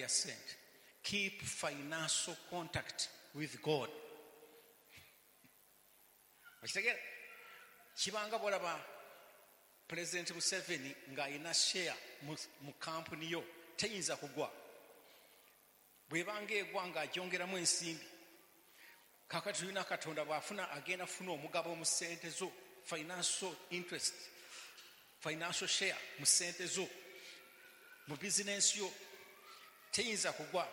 ya sente. Keep financial contact with God. Okitegeera? Kibanga bw'olaba President Museveni ng'alina share mu kampuni yo, teyinza kugwa. Bw'ebanga egwa ng'agyongeramu ensimbi. Kaakati tulina Katonda bw'afuna agenda funa omugabo mu ssente zo, financial interest, financial share mu ssente zo, mu bizinensi yo, teyinza kugwa.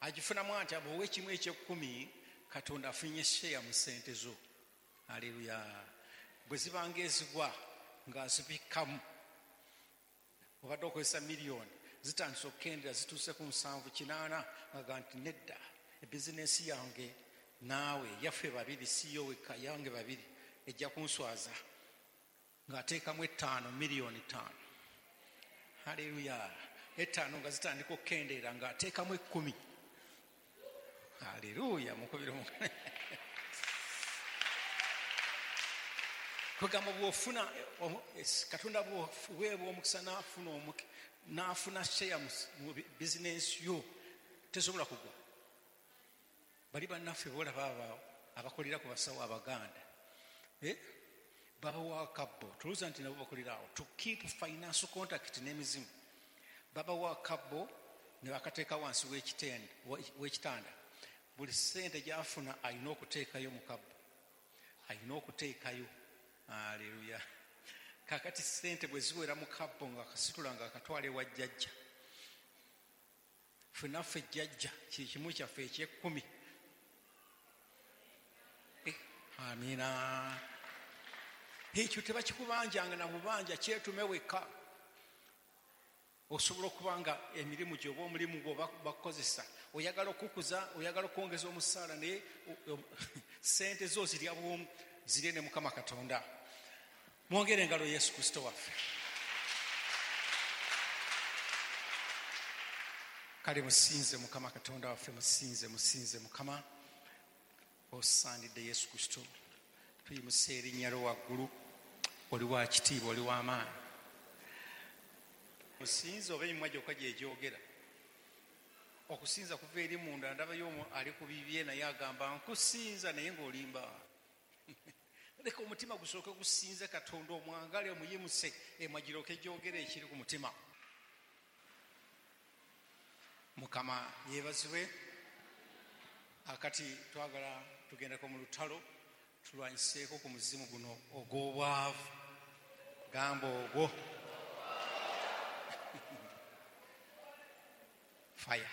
Agifunamu atya? Bw'owa ekimu eky'ekkumi, Katonda afunye share mu ssente zo. Haleluya. Bwe zibanga ezigwa ng'azibikkamu, obadde okozesa miliyoni zitandise okukendera, zituuse ku 780, nga nti nedda, ebizinensi yange naawe yaffe babiri, si yo wekka, yange babiri, ejja kunswaza. Ng'ateekamu 5 miliyoni 5. Haleluya. 5 nga zitandika okukendeera, ng'ateekamu 10. Haleluya. Mukubire omukono. Kwegamba bw'ofuna Katonda bw'oweebwa omukisa n'afuna share mu bizinensi yo, tesobola kugwa. Bali bannaffe boolaba abo abakolera ku basawo Abaganda, babawa akabbo, tulowooza nti nabo bakolera awo to keep financial contact n'emizimu. Babawa akabbo ne bakateeka wansi w'ekitanda. Buli ssente gy'afuna alina okuteekayo mu kabbo, alina okuteekayo. Haleluya. Kaakati ssente bwe ziwera mu kabbo ng'akasitula ng'akatwala ewa jjajja. Ffe naffe jjajja kye kimu kyaffe eky'ekkumi. Amiina. Ekyo tebakikubanjanga na bubanja, kyetume wekka. Osobola okuba nga emirimu gyo oba omulimu gwo bakukozesa, oyagala okukuza, oyagala okwongeza omusaala, naye ssente zo zirya bwomu, zirye ne Mukama Katonda. Mwongere engalo Yesu Kristo waffe. Kale musinze Mukama Katonda waffe, musinze, musinze Mukama. Osaanidde Yesu Kristo. Tuyimusa erinnya lyo waggulu, oli wa kitiibwa, oli wa maanyi. Musinze oba emimwa gyokka gye gyogera. Okusinza kuva eri munda, ndabayo omu ali ku bibye naye agamba nkusinza naye ng'olimba. Leka omutima gusooke gusinze Katonda, omwagale, omuyimuse, emwa giryoke gyogere ekiri ku mutima. Mukama yeebazibwe. Akati twagala tugendeko mu lutalo, tulwanyiseeko ku muzimu guno ogw'obwavu. Gamba ogwo. Fire.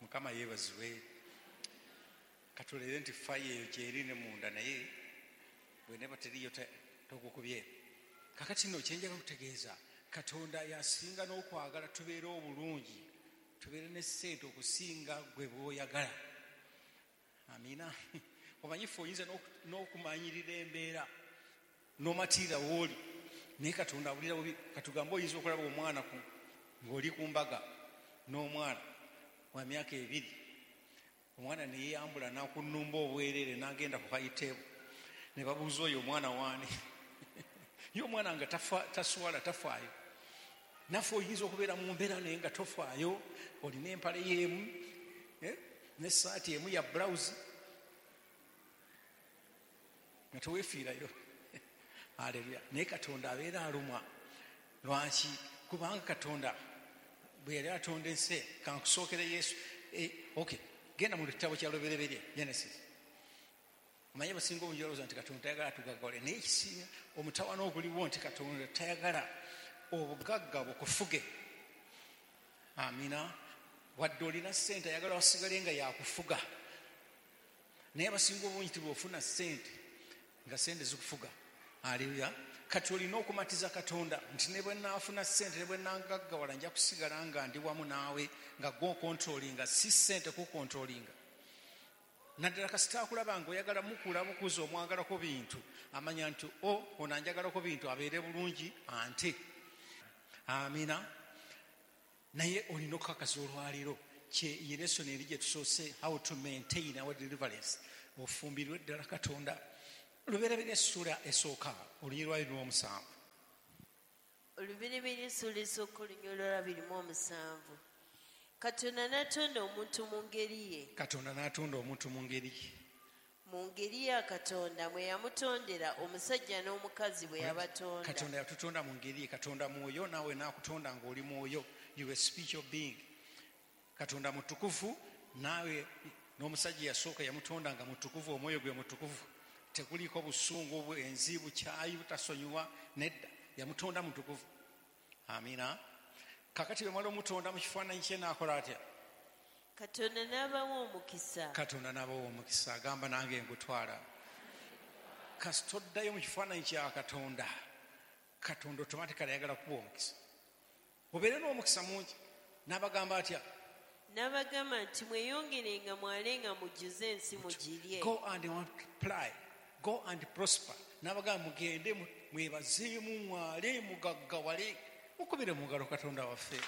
Mukama yeebazibwe. Katulere nti fire eyo gyeri ne munda, naye bw'eneeba teriiyo togukubye. Kakati nno kye njagala okutegeeza, Katonda yasinga n'okwagala tubeere obulungi, tubeere ne ssente okusinga gwe bw'oyagala. Amiina. Omanyi ffe oyinza n'okumanyirira embeera n'omatiira w'oli, naye Katonda awulira bubi. Katugambe oyinza okulaba omwana ng'oli ku mbaga n'omwana wa myaka 2, omwana ne yeeyambula n'akunnumba obwereere n'agenda ku high table, ne babuuza oyo omwana waani? Ye omwana nga taswala, tafaayo. Naffe oyinza okubeera mu mbeera naye nga tofaayo, olina empale y'emu, n'essaati emu ya blouse, nga teweefiirayo. Haleluya. Naye Katonda abeera alumwa. Lwaki? Kubanga Katonda bwe yali atonda ensi, kankusookere Yesu. Okay, genda mu kitabo kya Lubereberye, Genesis. Omanyi abasinga obungi balowooza nti Katonda tayagala tugaggawale, naye ekisinga omutawaana oguliwo nti Katonda tayagala obugagga bukufuge. Amina. Wadde olina ssente, ayagala wasigale nga yakufuga. Naye abasinga obungi tibw'ofuna ssente nga ssente zikufuga. Haleluya. Kati olina okumatiza Katonda nti ne bwe nnaafuna ssente, ne bwe nnagaggawala, nja kusigala nga ndi wamu naawe, nga gwe okontrolinga, si ssente kukontrolinga. Naddala kasita akulaba ng'oyagala mukula bukuza, omwagalako bintu, amanya nti ono anjagalako bintu, abeere bulungi ante. Amina. Naye olina okukakasa olwaleero ye lesson eri gye tusoose, how to maintain our deliverance. Ofumbirwe ddala Katonda. Lubereberye essuula esooka, olunyiriri lwayo lw'omusanvu. Olubereberye essula esooka olunyiriri 27. Katonda n'atonda omuntu mu ngeri ye. Katonda n'atonda omuntu mu ngeri ye. Mu ngeri ya Katonda mwe yamutondera, omusajja n'omukazi bwe yabatonda. Katonda yatutonda mu ngeri ye. Katonda mwoyo, naawe n'akutonda ng'oli mwoyo. You a spiritual being. Katonda mutukuvu, naawe n'omusajja yasooka yamutonda nga mutukuvu, omwoyo gwe mutukuvu. Tekuliiko busungu, bwenzi, bukyayi, butasonyiwa, nedda. Yamutonda mutukuvu. Amina. Kakati bwe mwali omutonda mu kifaananyi kye n'akola atya? Katonda n'abawa omukisa. Katonda n'abawa omukisa, agamba nange ngutwala. Kasita oddayo mu kifaananyi kya Katonda, Katonda automatically ayagala kukuwa omukisa. Obeere n'omukisa mungi. N'abagamba atya? N'abagamba nti mweyongerenga mwalenga mujjuze ensi mugirye. Go and multiply. Go and prosper. N'abagamba mugende mwebazeemu mwale mugaggawale. Mukubire mu ngalo Katonda waffe.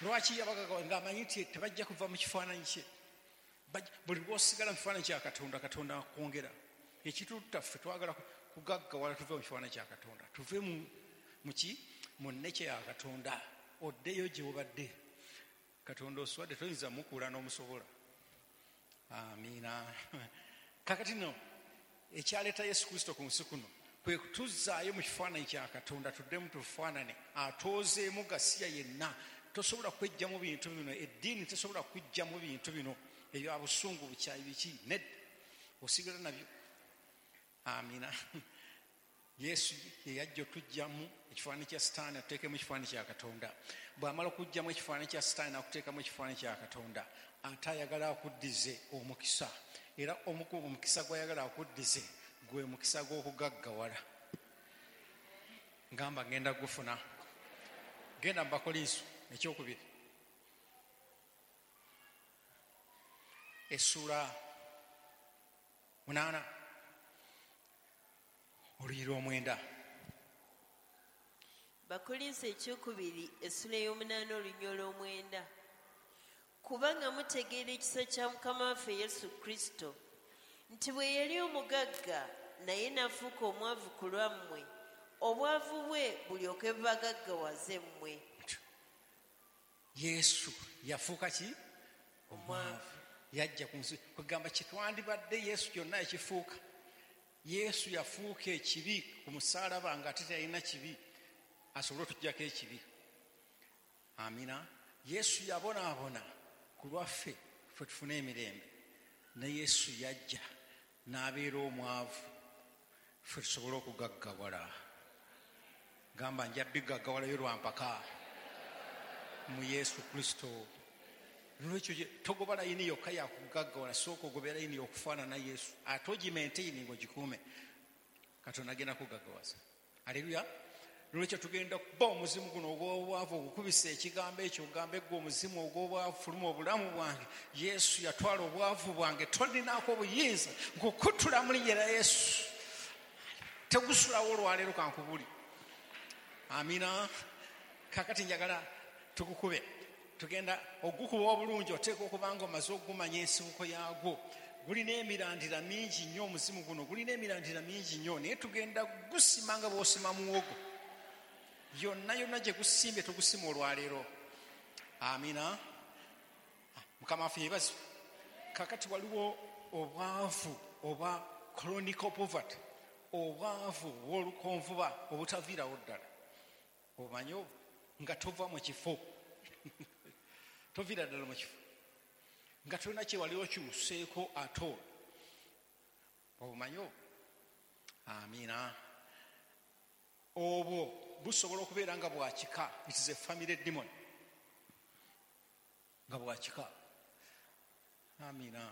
Lwaki yabagaggawa? Ng'amanyi nti tebajja kuva mu kifaananyi kye. Buli lw'osigala mu kifaananyi kya Katonda, Katonda akwongera. Ekitutta ffe twagala kugaggawala tuve mu kifaananyi kya Katonda. Tuve mu ki? Mu nnece ya Katonda. Oddeyo gye obadde. Katonda oswadde toyinza mukuula n'omusobola. Amiina. Kakati nno ekyaleeta Yesu Kristo ku nsi kuno kwe kutuzzaayo mu kifaananyi kya Katonda, tuddemu tufaanane, atoozeemu gasiya yenna. Tosobola kwejjamu bintu bino, eddiini tesobola kujjamu bintu bino ebya busungu, bukyayi, biki, nedda, osigala nabyo. Amina. Yesu ye yajja otujjamu ekifaananyi kya Sitaani atuteekemu ekifaananyi kya Katonda. Bw'amala okujjamu ekifaananyi kya Sitaani n'akuteekamu ekifaananyi kya Katonda, ate ayagala akuddize omukisa. Era omukisa gw'ayagala akuddize gwe mukisa gw'okugaggawala. Ngamba ngenda gufuna. Genda mu Bakolinso ekyokubiri essuula 8 olunyiriri 9. Bakolinso ekyokubiri essula 8 olunyiriri 9. Kubanga mutegeera ekisa kya Mukama waffe Yesu Kristo, nti bwe yali omugagga naye n'afuuka omwavu ku lwammwe, obwavu bwe bulyoke bubagaggawaze mmwe. Yesu yafuuka ki? Omwavu. Yajja ku nsi kugamba kitwandibadde Yesu kyonna ekifuuka. Yesu yafuuka ekibi ku musaalaba nga ate talina kibi, asobole otuggyako ekibi. Amina. Yesu yabonaabona ku lwaffe ffe tufune emirembe. Ne Yesu yajja n'abeera omwavu ffe tusobole okugaggawala. Gamba nja bigaggawalayo lwa mpaka mu Yesu Kristo. Lwekyo togoba layini yokka yakugaggawala, sooka ogobe layini okufaanana Yesu, ate ogimaintaining ogikuume. Katonda agenda kugaggawaza. Aleluya. Lwekyo tugenda kuba omuzimu guno ogw'obwavu, ogukubisa ekigambo ekyo, ogambe gwe omuzimu ogw'obwavu, fuluma obulamu bwange. Yesu yatwala obwavu bwange, tolinaako obuyinza, nkukutula mu linnya lya Yesu. Tegusulawo olwaleero kankubuli. Amina. Kakati njagala tukukube. Tugenda ogukuba obulungi, oteeka okuba nga omaze okugumanya ensibuko yaagwo. Gulina emirandira mingi nnyo omuzimu guno, gulina emirandira mingi nnyo, naye tugenda gusima nga bw'osima muwogo. Yonna yonna gye gusimbye tugusima olwaleero. Amina. Mukama waffe yeebazibwe. Kakati waliwo obwavu obwa chronic poverty, obwavu obw'olukonvuba obutaviirawo ddala. Omanyi nga tova mu kifo, toviira ddala mu kifo, nga tolina kye wali okyuseeko ate obumanyi. Amina. Obwo busobola okubeera nga bwakika. It is a family demon, nga bwakika. Amina.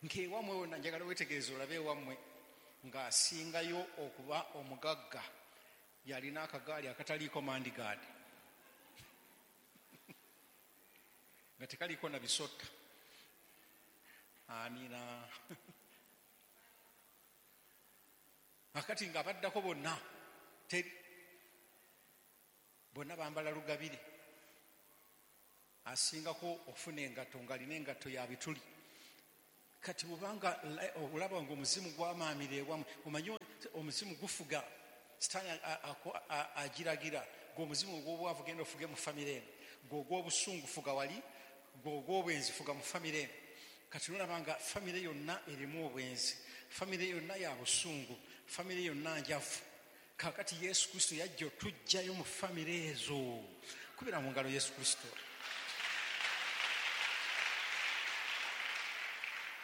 Nkewammwe wonna njagala weetegereze olabe ewammwe ng'asingayo okuba omugagga yalina akagaali akataliiko mandigaadi, nga tekaliiko na bisotta. Amina. Akati ng'abaddako bonna teri, bonna bambala lugabire. Asingako okufuna engatto ng'alina engatto ya bituli. Kati bw'obanga olaba ng'omuzimu gwamaamira ewammwe, omanyi omuzimu gufuga, Sitaani agiragira, gw'omuzimu ogw'obwavu genda ofuge mu famire eno, gw'ogw'obusungu fuga wali, gw'ogw'obwenzi fuga mu famire eno. Kati nolaba nga famire yonna erimu obwenzi, famire yonna ya busungu, famire yonna njavu. Kaakati Yesu Kristo yajja otuggyayo mu famire ezo. Kubira mu ngalo Yesu Kristo.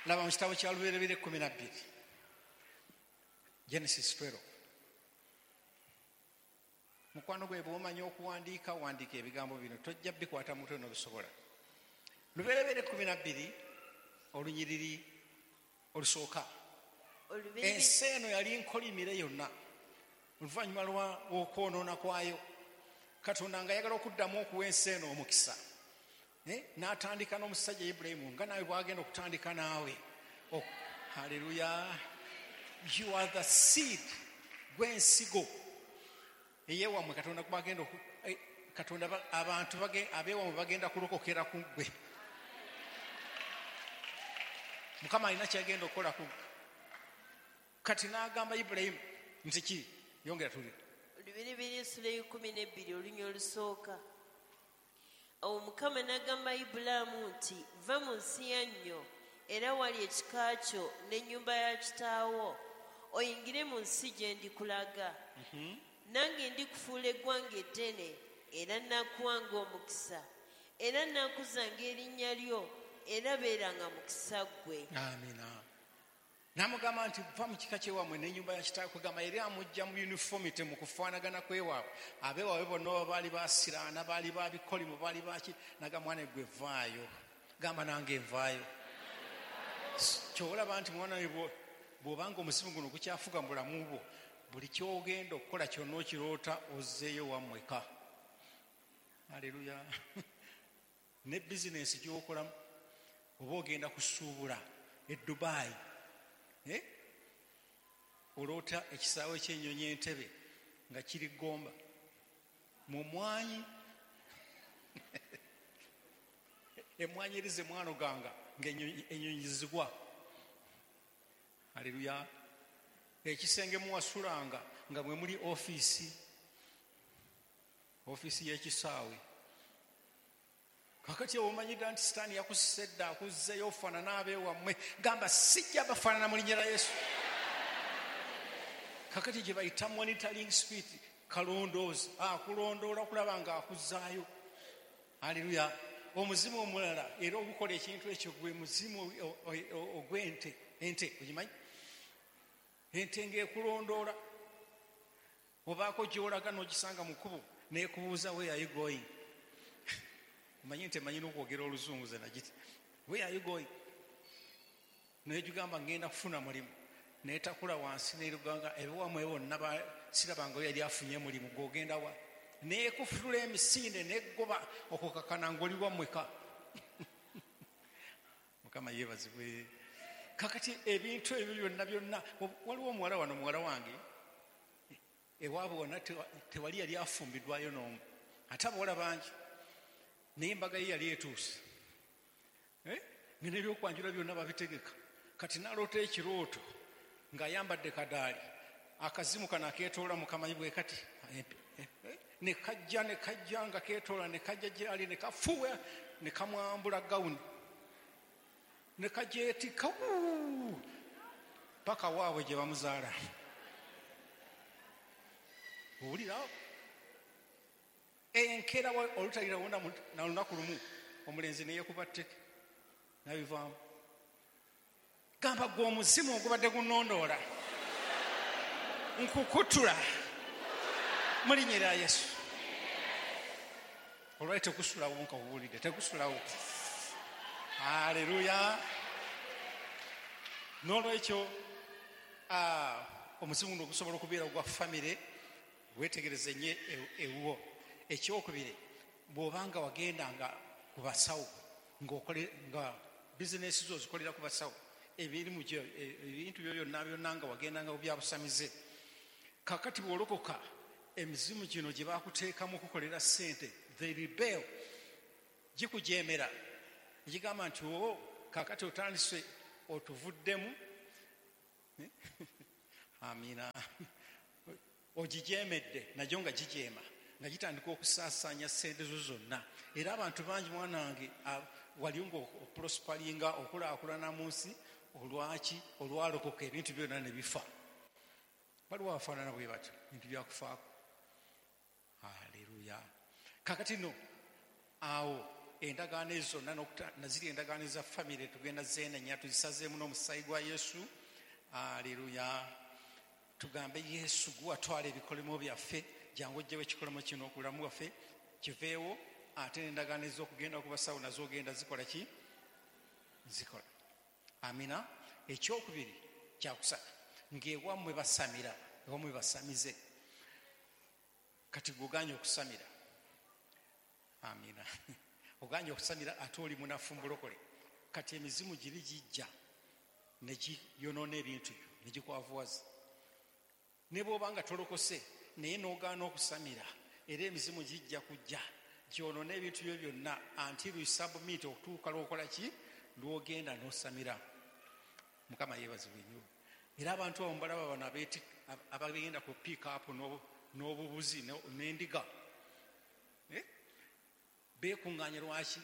Laba mu kitabo kya Lubereberye 12, Genesis 12. Mukwano gwe bw'omanyi okuwandiika, wandiika ebigambo bino, tojja bikwata mutwe n'obisobola. Lubereberye 12 olunyiriri olusooka. Ensi eno yali nkolimire yonna oluvannyuma lw'okwonoona kwayo. Katonda ng'ayagala okuddamu okuwa ensi eno omukisa, n'atandika n'omusajja Ibulayimu, nga naawe bw'agenda okutandika naawe. Haleluya. You are the seed, gw'ensigo eyewammwe. Katonda gwagenda Katonda abantu abeewammwe bagenda kulokokera ku ggwe. Mukama alina kyagenda okukola ku ggwe. Kati n'agamba Ibulayimu nti ki? Yongera tuli. Lubereberye essula 12 olunya olusooka. Awo Mukama n'agamba Ibulaamu nti, va mu nsi yannyo era wali ekika kyo n'ennyumba ya kitaawo, oyingire mu nsi gye ndikulaga. Nange ndikufuula eggwanga eddene, era nnakuwanga omukisa, era nnaakuzanga erinnya lyo, era beeranga mukisa ggwe. Amiina. N'amugamba nti va mu kika kyewammwe n'ennyumba ya kitaawo. Kugamba eri amujja mu uniformity, mu kufaanagana kwewaabwe. Abeewaabwe bonna oba baali basiraana, baali babikolimo, baali baki. Nagamba mwana gwe vaayo, gamba nange nvaayo. Ky'olaba nti mwana we bw'obanga omuzimu guno gukyafuga mu bulamu bwo, buli ky'ogenda okukola kyonna okiroota ozzeeyo wammweka. Haleluya. Ne bizinensi gy'okolamu, oba ogenda kusuubula e Dubai, oloota ekisaawe ky'ennyonyi Entebbe nga kiri Gomba mu mwanyi. Emwanyi erize mwanoganga ng'ennyonyi zigwa. Haleluya. Ekisenge muwasulanga nga mwe muli ofiisi y'ekisaawe. Kakati omanyidde nti Sitaani yakusisa edda, akuzzeeyo ofaanana abeewammwe. Gamba sijja bafaanana mu linnya lya Yesu. Kakati gye bayita monitoring spirit, kalondoozi akulondoola okulaba nga akuzzaayo. Haleluya. Omuzimu omulala era ogukola ekintu ekyo gwe muzimu ogw'ente. Ente ogimanyi? Ente ng'ekulondoola, obaako gy'olaga n'ogisanga mu kkubo n'ekubuuza where are you going? Omanyi nti emanyi n'okwogera oluzungu ze nagiti. Where are you going? N'egigamba ngenda kufuna mulimu. N'etakula wansi n'eruganga ebiwammwe bonna sirabangayo yali afunye mulimu, gw'ogenda wa? N'ekufutula emisinde n'eggoba okukakana ng'oli wammweka. Mukama yeebazibwe. Kakati ebintu ebyo byonna byonna, waliwo omuwala wano, muwala wange ewaabwe wonna tewali yali afumbiddwayo n'omu, ate abawala bangi, naye embaga ye yali etuuse, nga n'ebyokwanjula byonna babitegeka. Kati n'aloota ekirooto ng'ayambadde kadaali, akazimu kano akeetoola mukamanyi bwe kati, ne kajja ne kajja nga keetoola, ne kajja gyali ne kafuuwa ne kamwambula gawuni ne kajeetikka paka waabwe gye bamuzaala. Owulira enkeera olutalira wonna na lunaku lumu omulenzi ne yeekuba tteke n'abivaamu. Gamba gwe omuzimu ogubadde gunnondoola nkukutula mu linnya lya Yesu. Olwali tekusulawo, nkakubuulidde tekusulawo. Haleluya. N'olwekyo omuzimu guno gusobola okubeera ogwa famire, weetegereze nnyo ewuwo. Ekyokubiri, bw'obanga wagendanga ku basawo nga bizinesi zo ozikolera ku basawo, ebirimu ebintu byo byonna byonna nga wagendanga ku byabusamize. Kakati bw'olokoka emizimu gino gye bakuteekamu okukolera ssente, they rebel, gikujeemera, egigamba nti o kakati otandise otuvuddemu. Amina. Ogijeemedde nagyo nga gijeema, nga gitandika okusaasaanya ssente zo zonna. Era abantu bangi mwana wange wali ng'oprosparinga okulaakulana mu nsi, olwaki olwalokoka ebintu byonna ne bifa. Waliwo abafaanana bwe batyo, bintu byakufaako. Haleluya. Kakati no awo endagaano ezo zonna naziri endagaano eza famire tugenda zeenenya, tuzisazeemu n'omusaayi gwa Yesu. Haleluya. Tugambe Yesu gwatwala ebikolimo byaffe, jangu ojjewo ekikolimo kino ku bulamu bwaffe kiveewo, ate n'endagaano ez'okugenda ku basawo nazo ogenda zikola ki? Zikola. Amina. Ekyokubiri kyakusatu, ng'ewammwe basamira, ewammwe basamize, kati gwe okusamira. Amina. Oganye okusamira ate oli munafu mulokole, kati emizimu giri gijja ne giyonoona ebintu byo ne gikwavuwaza. Ne bw'oba nga tolokose naye n'ogaana okusamira, era emizimu gijja kujja gyonoona ebintu byo byonna until you submit, okutuuka lw'okola ki? Lw'ogenda n'osamira. Mukama yeebazibwe nnyo. Era abantu abo mbalaba bano abagenda ku pick up n'obubuzi n'endiga, beekuŋŋaanya. Lwaki?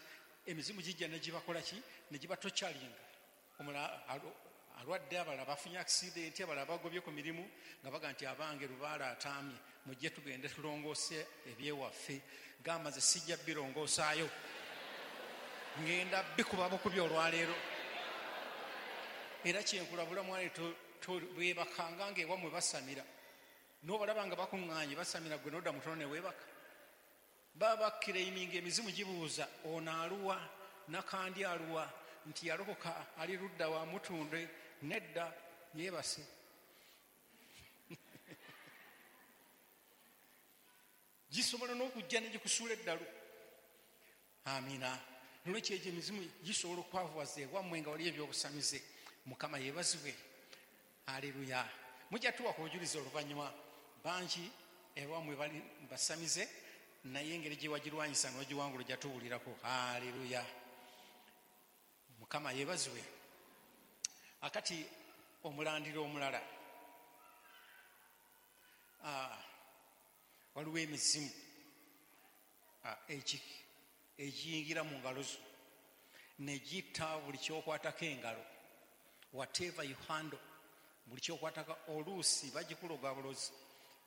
Emizimu gijja ne gibakola ki? Ne gibatokyalinga. Omulala alwadde, abalala bafunye accident, abalala bagobye ku mirimu, nga baga nti abange lubaala ataamye, mujje tugende tulongoose ebyewaffe. Gamba nze sijja birongoosaayo, ngenda bikuba bukubi olwaleero. Era kyenkulabula mwana, bwebakanga ng'ewammwe basamira, n'obalaba nga bakuŋŋaanye basamira, gwe n'odda mutono ne weebaka, baba bakireiminga. Emizimu gibuuza ono aluwa, nakandi aluwa, nti yalokoka ali ludda wa mutunde, nedda yeebase. Gisobola n'okujja ne gikusuula eddalu. Amina. Nolwekyo egyo emizimu gisobola okwavuwaza ewammwe nga wali ebyobusamize. Mukama yeebazibwe. Aleluya. Mujja tuwa ku bujulizi oluvannyuma, bangi ewammwe bali basamize, naye engeri gye wagirwanyisa n'ogiwangula ojja tuwulirako. Aleluya. Mukama yeebazibwe. Akati omulandira omulala, waliwo emizimu egiyingira mu ngalo zo ne gitta buli kyokwatako engalo. Whatever you handle, buli kyokwatako. Oluusi bagikuloga bulozi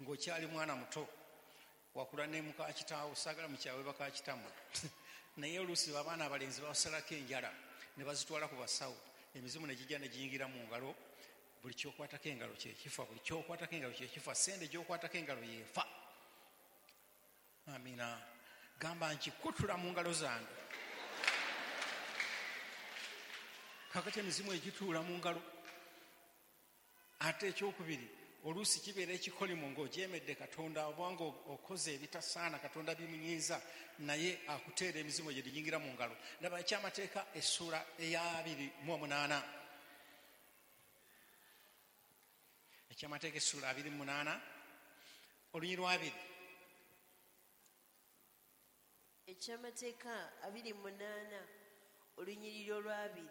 ng'okyali mwana muto, wakula ne muka kitaawo, saagala mukyawe baka kitammwe, naye oluusi abaana abalenzi babasalako enjala ne bazitwala ku basawo, emizimu ne gijja ne giyingira mu ngalo. Buli kyokwatako engalo kyekifa, buli kyokwatako engalo kyekifa, sente gyokwatako engalo yeefa. Amina. Gamba nkikutula mu ngalo zange. Kakati emizimu egituula mu ngalo. Ate ekyokubiri, oluusi kibeera ekikolimo ng'ojeemedde Katonda, obanga okoze ebitasaana Katonda bimunyiiza, naye akuteera emizimu egyo giyingira mu ngalo. Laba ekyamateeka essuula eya 28. Ekyamateeka essuula 28 olunyiriri lwa 2. Ekyamateeka 28 olunyiriri olwa 2.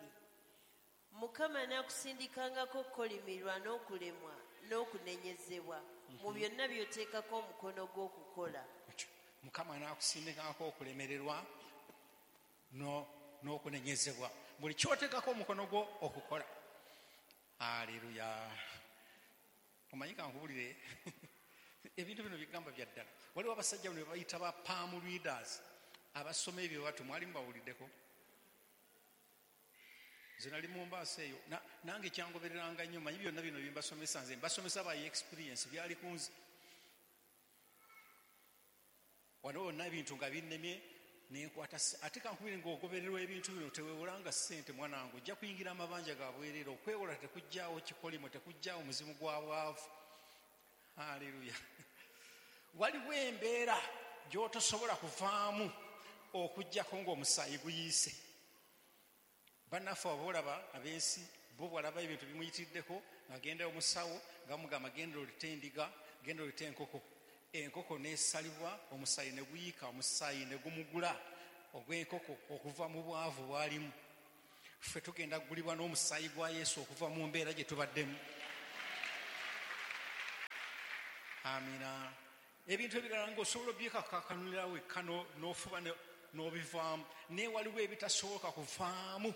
Mukama anaakusindikangako okukolimirwa n'okulemwa n'okunenyezebwa mu byonna by'oteekako omukono gw'okukola. Mukama anaakusindikangako okulemererwa n'okunenyezebwa buli ky'oteekako omukono gwo okukola. Aleluya. Omanyi kankubulire, ebintu bino bigamba bya ddala. Waliwo abasajja bano bayita ba palm readers, abasoma ebyo batu, mwali mubawuliddeko? Nze nali mu mbaasa eyo, nange kyangobereranga nnyo. Manyi byonna bino bimbasomesa, nze mbasomesa by experience, byali ku nze. Wano wonna ebintu nga binnemye nenkwata. Ate kankubire, ng'ogobererwa ebintu bino tewewolanga ssente mwana wange, ojja kuyingira amabanja ga bwereere. Okwewola tekujjaawo kikolimo, tekujjaawo muzimu gwa bwavu. Haleluya. Waliwo embeera gy'otosobola kuvaamu okuggyako ng'omusaayi guyiise. Bannaffe abo olaba ab'ensi bo bw'alaba ebintu bimuyitiddeko ng'agenda omusawo nga bamugamba genda olite endiga, genda olite enkoko. Enkoko n'esalibwa, omusaayi ne guyiika, omusaayi ne gumugula ogw'enkoko okuva mu bwavu bw'alimu. Ffe tugenda kugulibwa n'omusaayi gwa Yesu okuva mu mbeera gye tubaddemu. Amina. Ebintu ebirala ng'osobola obyekakakanulira wekka n'ofuba n'obivaamu, naye waliwo ebitasoboka kuvaamu.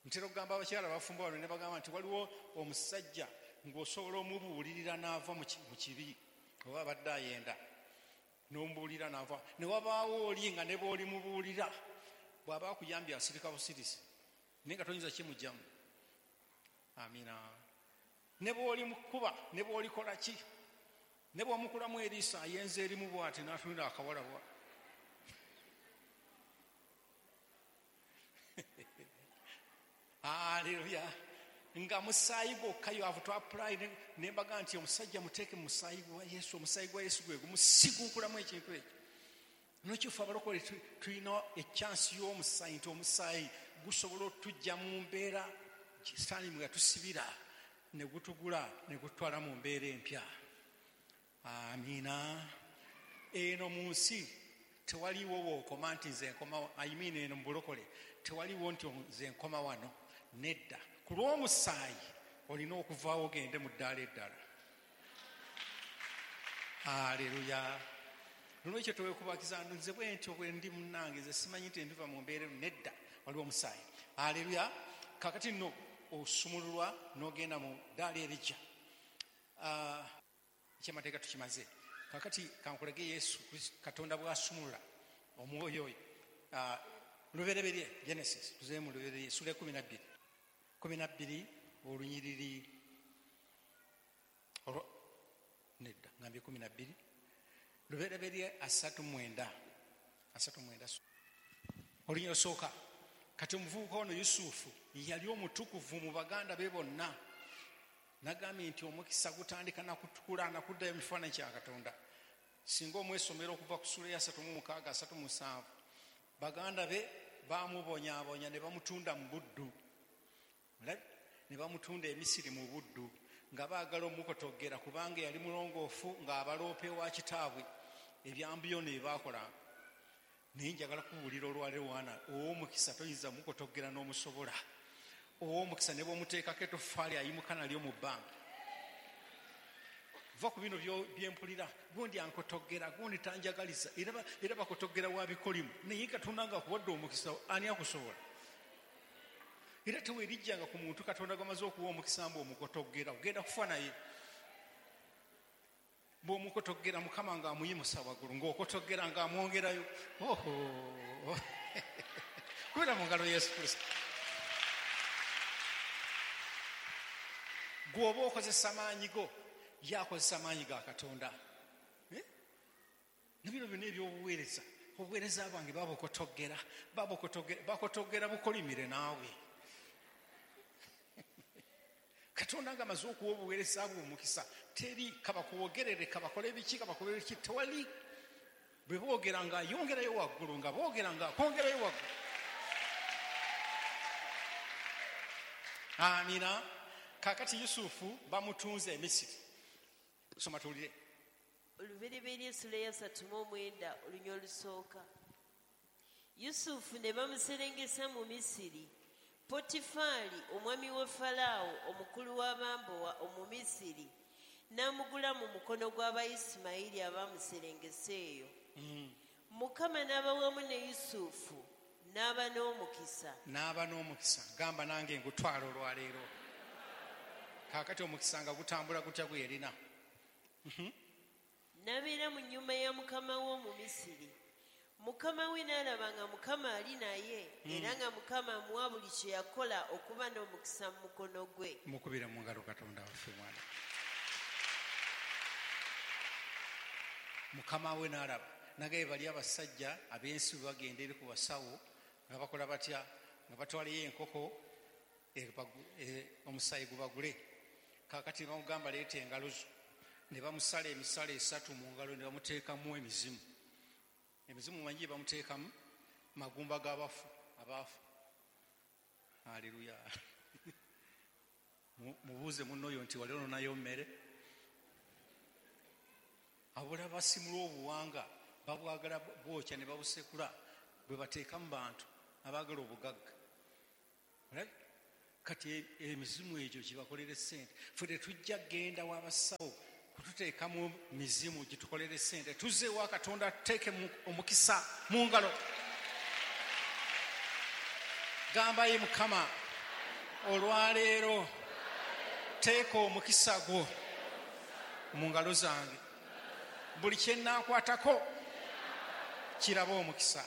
Ntera okugamba abakyala abafumbo bano ne bagamba nti waliwo omusajja ng'osobola omubuulirira n'ava mu kibi, oba abadde ayenda n'omubuulira n'ava, ne wabaawo oli nga ne bw'olimubuulira bw'aba akuyambye asirika busirisi, naye nga toyinza kimugyamu. Amina. Ne bw'olimukuba, ne bw'olikola ki, ne bw'omukulamu eriiso ayenza erimu bw'ati n'atunula akawala bwa. Haleluya. Nga musaayi gwokka you have to apply. Ne mbaga nti omusajja muteeke mu musaayi gwa Yesu, omusaayi gwa Yesu gwe gumusiguukulamu ekintu ekyo. N'ekifo abalokole tulina ekyansi y'omusaayi, nti omusaayi gusobola otujja mu mbeera Sitaani mwe yatusibira ne gutugula ne gututwala mu mbeera empya. Amina. Eno mu nsi tewaliwo wookoma nti nze nkoma, I mean eno mu bulokole tewaliwo nti nze nkoma wano, nedda. Ku lw'omusaayi olina okuvaawo ogende mu ddaala eddala. Haleluya. Nolwekyo tewekubagiza nze bwe ntyo bwe ndi munnange, nze simanyi nti ndiva mu mbeera eno, nedda, waliwo omusaayi. Haleluya. Kaakati nno osumululwa n'ogenda mu ddaala erijja. Ekyamateeka tukimaze. Kaakati kankulage Yesu Kristo Katonda bw'asumulula omwoyo oyo. Lubereberye, Genesis, tuzeemu Lubereberye, ssuula 12. 12 olunyiriri olwo, nedda, ngambye 12. Lubereberye 39. 39. Olunyiriri olusooka. Kati omuvubuka ono Yusufu yali omutukuvu mu baganda be bonna. Nagambye nti omukisa gutandika na kutukula na kuddayo mu kifaananyi kya Katonda. Singa omwesomera okuva ku ssuula ya 36 37, baganda be baamubonyaabonya ne bamutunda mu buddu. Ne bamutunda e Misiri mu buddu, nga baagala omukotogera kubanga yali mulongoofu ng'abaloopa ewa kitaabwe ebyambiyo ne baakolanga. Naye njagala kubuulira olwaleero wana, ow'omukisa toyinza mukotogera n'omusobola. Ow'omukisa ne bw'omuteekako etoffaali ayimuka nalyo mu bbanga. Va ku bino byempulira, gundi ankotogera, gundi tanjagaliza, era bakotogera wa bikolimu. Naye Katonda ng'akuwadde omukisa, ani akusobola? Era teweerijjanga ku muntu Katonda gw'amaze okuwa omukisa mbu omukotogera, ogenda kufa naye. Bw'omukotogera Mukama ng'amuyimusa waggulu, ng'okotogera ng'amwongerayo. Oho! Kubira mu ngalo Yesu Kristo. Gw'oba okozesa maanyi go, ye akozesa maanyi ga Katonda. Ne bino byonna eby'obuweereza, obuweereza bwange babukotogera, bakotogera bukolimire naawe. Katonda ng'amaze okuwa obuweereza bwe omukisa, teri kabakuwogerere, kabakole biki, kabakole biki, tewali. Bwe boogera ng'ayongerayo waggulu, nga boogera ng'akwongerayo waggulu. Amina. Kaakati Yusufu bamutunze e Misiri. Soma tuwulire. Olubereberye essula ya 39 olunya olusooka. Yusufu ne bamuserengesa mu Misiri. Potifaali omwami wa Falaawo omukulu w'abambowa Omumisiri n'amugula mu mukono gw'Abayisimayiri abamuserengesa eyo. Mukama n'aba wamu ne Yusufu n'aba n'omukisa. N'aba n'omukisa. Gamba nange ngutwala olwaleero. Kaakati omukisa nga gutambula gutya gwe yalina? N'abeera mu nnyumba ya mukama we Omumisiri. Mukama we n'alaba nga Mukama ali naye, era nga Mukama amuwa buli kye yakola okuba n'omukisa mu mukono gwe. Mukubire mu ngalo Katonda waffe mwana. Mukama we n'alaba. Nagaye bali abasajja ab'ensi bwe bagenda eri ku basawo nga bakola batya, nga batwalayo enkoko omusaayi gubagule. Kaakati ne bamugamba leeta engalo zo. Ne bamusala emisala 3 mu ngalo ne bamuteekamu emizimu. Emizimu mangi bamuteekamu magumba g'abafu abaafu. Haleluya. Mubuuze munno oyo nti wali ononayo mmere? Abula basimula obuwanga babwagala bwokya ne babusekula bwe bateeka mu bantu abaagala obugagga. Kati emizimu egyo gibakolere sente. Ffe tetujja kugenda w'abasawo kututeekamu mizimu gitukolere sente. Tuzze ewa Katonda tuteeke omukisa mu ngalo. Gamba ye Mukama, olwaleero teeka omukisa gwo mu ngalo zange. Buli kye nnaakwatako kiraba omukisa.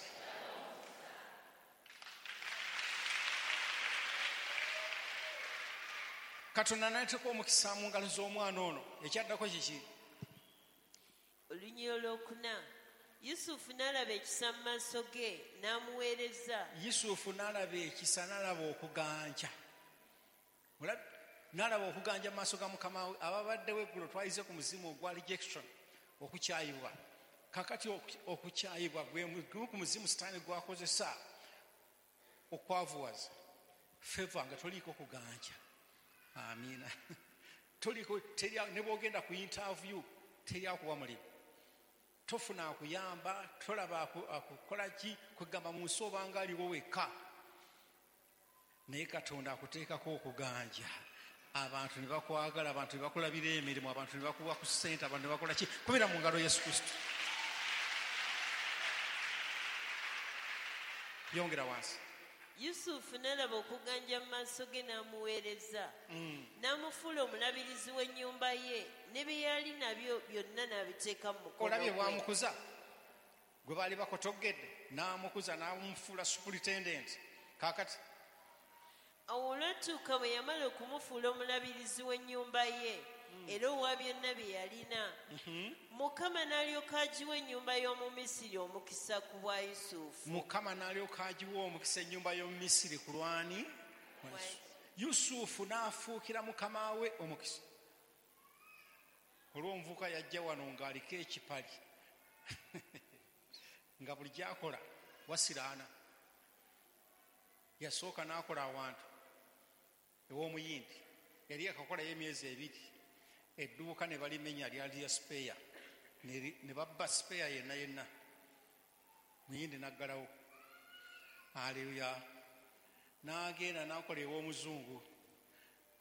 Katonda n'ateeka omukisa mu ngalo z'omwana ono. Ekyaddako kiki? Olunyiriri olwokuna. Yusufu n'alaba ekisa mu maaso ge n'amuweereza. Yusufu n'alaba ekisa, n'alaba okuganja. N'alaba okuganja mu maaso ga Mukama we. Ababaddewo eggulo twayize ku muzimu ogwa rejection, okukyayibwa. Kakati okukyayibwa gwe gumu ku muzimu Sitaani gwakozesa okwavuwaza. Favor nga toliiko kuganja. Amiina. Toliko, teri, ne bw'ogenda ku interview teri akuwa mulimu. Tofuna akuyamba, tolaba akukola ki, kwegamba mu nsi obanga aliwo wekka. Naye Katonda akuteekako okuganja. Abantu ne bakwagala, abantu ne bakulabira emirimu, abantu ne bakuwa ku ssente, abantu ne bakola ki? Kubira mu ngalo Yesu Kristo. Yongera wansi. Yusufu n'alaba okuganja mu maaso ge n'amuweereza. N'amufuula omulabirizi w'ennyumba ye, ne bye yali nabyo byonna n'abiteeka mu mukono Olabye gwe. bw'amukuza? Gwe baali bakotogedde, n'amukuza n'amufuula superintendent. Kaakati Awo olwatuuka bwe yamala okumufuula omulabirizi w'ennyumba ye, era owa byonna bye yalina, Mukama n'alyoka agiwa ennyumba y'omu Misiri omukisa ku bwa Yusufu. Mukama n'alyoka agiwa omukisa ennyumba y'omu Misiri ku lwani? Yusufu n'afuukira mukama we omukisa. Olw'omuvubuka yajja wano ng'aliko ekipali nga buli gy'akola wasiraana. Yasooka n'akola awantu ew'omuyindi, yali akakolayo emyezi 2, edduuka ne balimenya lyali lya spare, ne babba spare yenna yenna, muyindi n'aggalawo. Haleluya. N'agenda n'akola ew'omuzungu.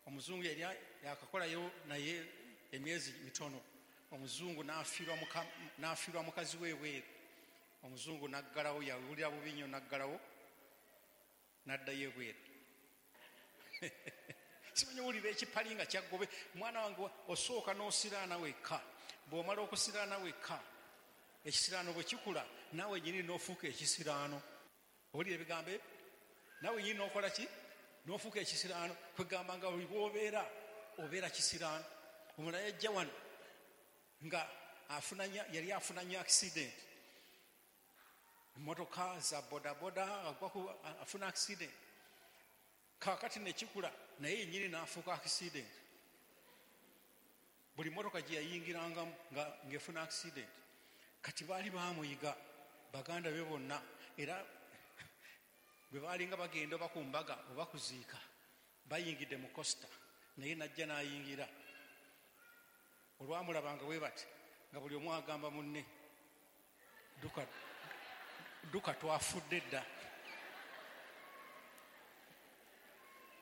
Omuzungu yali yakakolayo naye emyezi mitono. Omuzungu n'afiirwa mukazi we ebweru. Omuzungu n'aggalawo, yawulira bubi nnyo n'aggalawo, n'addayo ebweru. Simanyi owulira ekipali nga kyaggobe. Mwana wange, osooka n'osiraana wekka. Bw'omala okusiraana wekka, ekisiraano bwe kikula, naawe nnyini n'ofuuka ekisiraano. Owulira ebigambo ebyo? Naawe nnyini n'okola ki? N'ofuuka ekisiraano. Kwegamba nga buli bw'obeera, obeera kisiraano. Omulala yajja wano nga yali afuna nnyo accident. Emmotoka za bodaboda, afuna accident. Kaakati ne kikula, naye yennyini n'afuuka accident. Buli mmotoka gye yayingirangamu ng'efuna accident. Kati baali baamuyiga baganda be bonna, era bwe baalinga bagenda oba ku mbaga oba kuziika, bayingidde mu costa, naye n'ajja n'ayingira. Olwamulabanga bwe bati, nga buli omu agamba munne, duka, duka twafudde dda.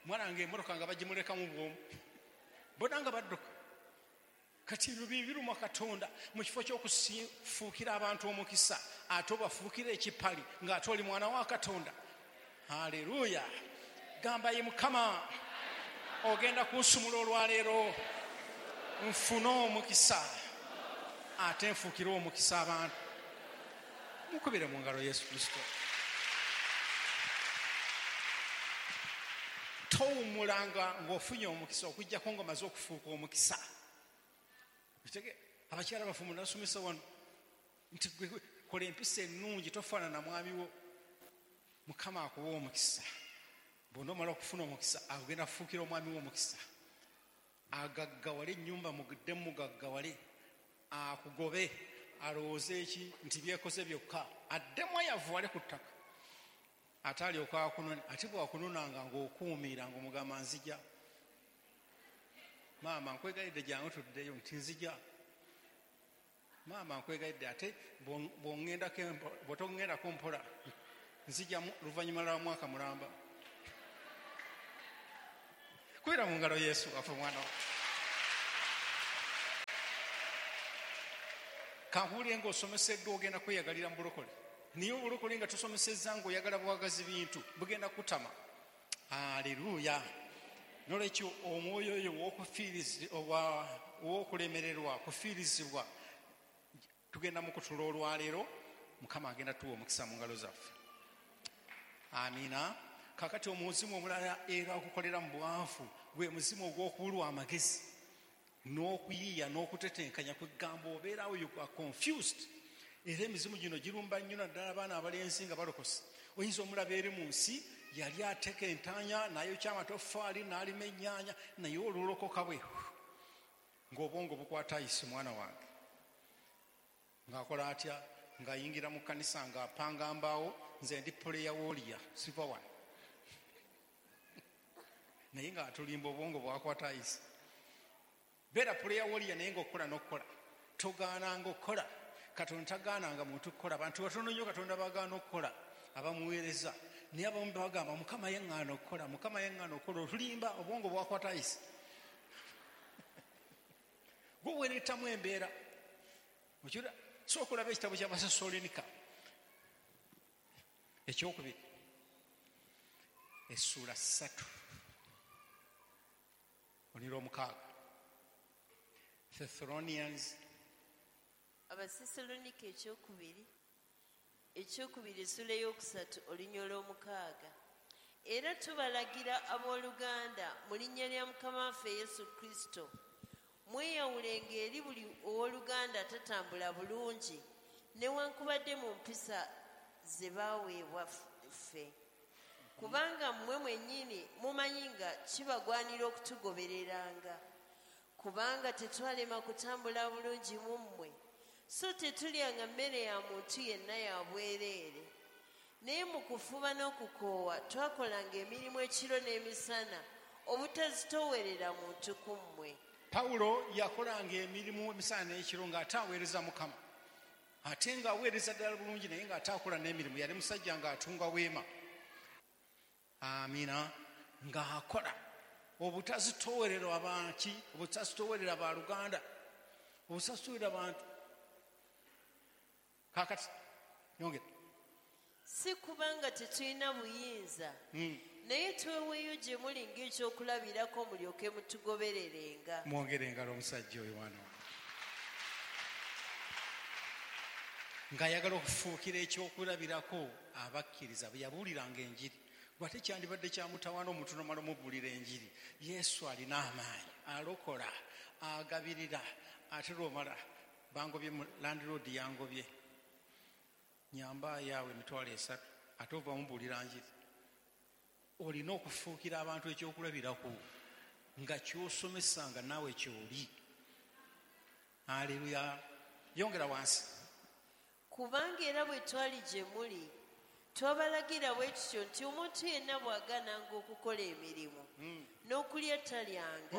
Mwana wange emmotoka nga bagimulekamu bw'omu, bonna nga badduka. Kati ebyo biruma Katonda. Mu kifo ky'okufuukira abantu omukisa, ate obafuukira ekipali ng'ate oli mwana wa Katonda. Haleluya. Gamba ye Mukama, ogenda kunsumula olwaleero, nfune omukisa ate nfuukire omukisa abantu. Mukubire mu ngalo Yesu Kristo. Towummulanga ng'ofunye omukisa okuggyako ng'omaze okufuuka omukisa. Abakyala bafumbo nasomesa wano nti gwe kola empisa ennungi, tofaanana mwami wo. Mukama akuwa omukisa. Bw'onoomala okufuna omukisa, agenda kufuukira omwami wo omukisa. Agaggawale ennyumba mugiddemu mugaggawale, akugobe alowooze eki nti byekoze byokka, addemu ayavuwale ku ttaka. Ate alyoka akunone, ate bw'akunonanga ng'okuumiira ng'omugamba nzija. Maama nkwegayiridde jangu tuddeyo, nti nzija. Maama nkwegayiridde ate bw'otoŋŋendako mpola, nzija luvannyuma lwa mwaka mulamba. Kubira mu ngalo Yesu waffe mwana wa. Kankuwulire ng'osomeseddwa ogenda kweyagalira mu bulokole. Naye obulokole nga tosomesezza ng'oyagala bwagazi bintu bugenda kutama. Aleluya. Nolwekyo omwoyo oyo ow'okulemererwa kufiirizibwa tugenda mu kutula olwaleero. Mukama agenda tuwa omukisa mu ngalo zaffe. Amiina. Kakati omuzimu omulala era okukolera mu bwavu gwe muzimu ogw'okubulwa amagezi n'okuyiiya n'okutetenkanya kwegamba obeerawo you are confused. Era emizimu gino girumba nnyo naddala abaana abalenzi nga balokose. Oyinza omulaba eri mu nsi yali ateka entanya n'ayokya amatoffaali n'alima ennyaanya, naye olulokoka bwe ng'obwongo bukwata ayise mwana wange. Ng'akola atya? Ng'ayingira mu kkanisa ng'apanga mbaawo, nze ndi puleya wooliya siva wano. Naye ng'atulimba obwongo bwakwata ayise. Beera puleya wooliya naye ng'okukola n'okukola. Togaananga okukola. Katonda tagaananga muntu kukola. Abantu batono nnyo Katonda bagaana okukola abamuweereza. Naye abamu bagamba Mukama yaŋŋaana okukola, Mukama yaŋŋaana okukola. Otulimba obwongo bwakwata ayise. Gwe weereetamu embeera. Sooka olaba ekitabo ky'Abasessaloniika ekyokubiri essuula 3 6. Thessalonians. Abasessaloniika ekyokubiri essuula 3 6. Era tubalagira abooluganda mu linnya lya Mukama waffe Yesu Kristo, mweyawulenga eri buli owooluganda atatambula bulungi newankubadde mu mpisa ze baaweebwa ffe. Kubanga mmwe mwennyini mumanyi nga kibagwanira okutugobereranga. Kubanga tetwalema kutambula bulungi mu mmwe, so tetulyanga mmere ya muntu yenna ya bwereere. Naye mu kufuba n'okukoowa twakolanga emirimu ekiro n'emisana obutazitoowerera muntu ku mmwe. Pawulo yakolanga emirimu emisana n'ekiro ng'ate aweereza Mukama, ate ng'aweereza ddala bulungi naye ng'ate akola n'emirimu. Yali musajja ng'atunga weema. Amiina. Ng'akola obutazitoowerera abanki, obutazitoowerera baluganda, obutazitoowerera bantu. Kakati yongera. Si kubanga tetulina buyinza, naye tweweeyo gye muli ng'ekyokulabirako mulyoke mutugobererenga. Mwongere engalo omusajja oyo mwana wange. Ng'ayagala okufuukira ekyokulabirako abakkiriza bwe yabuuliranga enjiri. Bw'ate kyandibadde kyamutawaana omuntu n'omala omubuulira enjiri. Yesu alina amaanyi, alokola, agabirira, ate lw'omala bangobye mu landlord yangobye. Nyamba yaawe 300,000 ate ova mubuulira njiri. Olina okufuukira abantu ekyokulabirako nga ky'osomesa nga naawe ky'oli. Aleluya. Yongera wansi. Kubanga era bwe twali gye muli twabalagira bwe tutyo nti omuntu yenna bw'agaananga okukola emirimu n'okulya talyanga.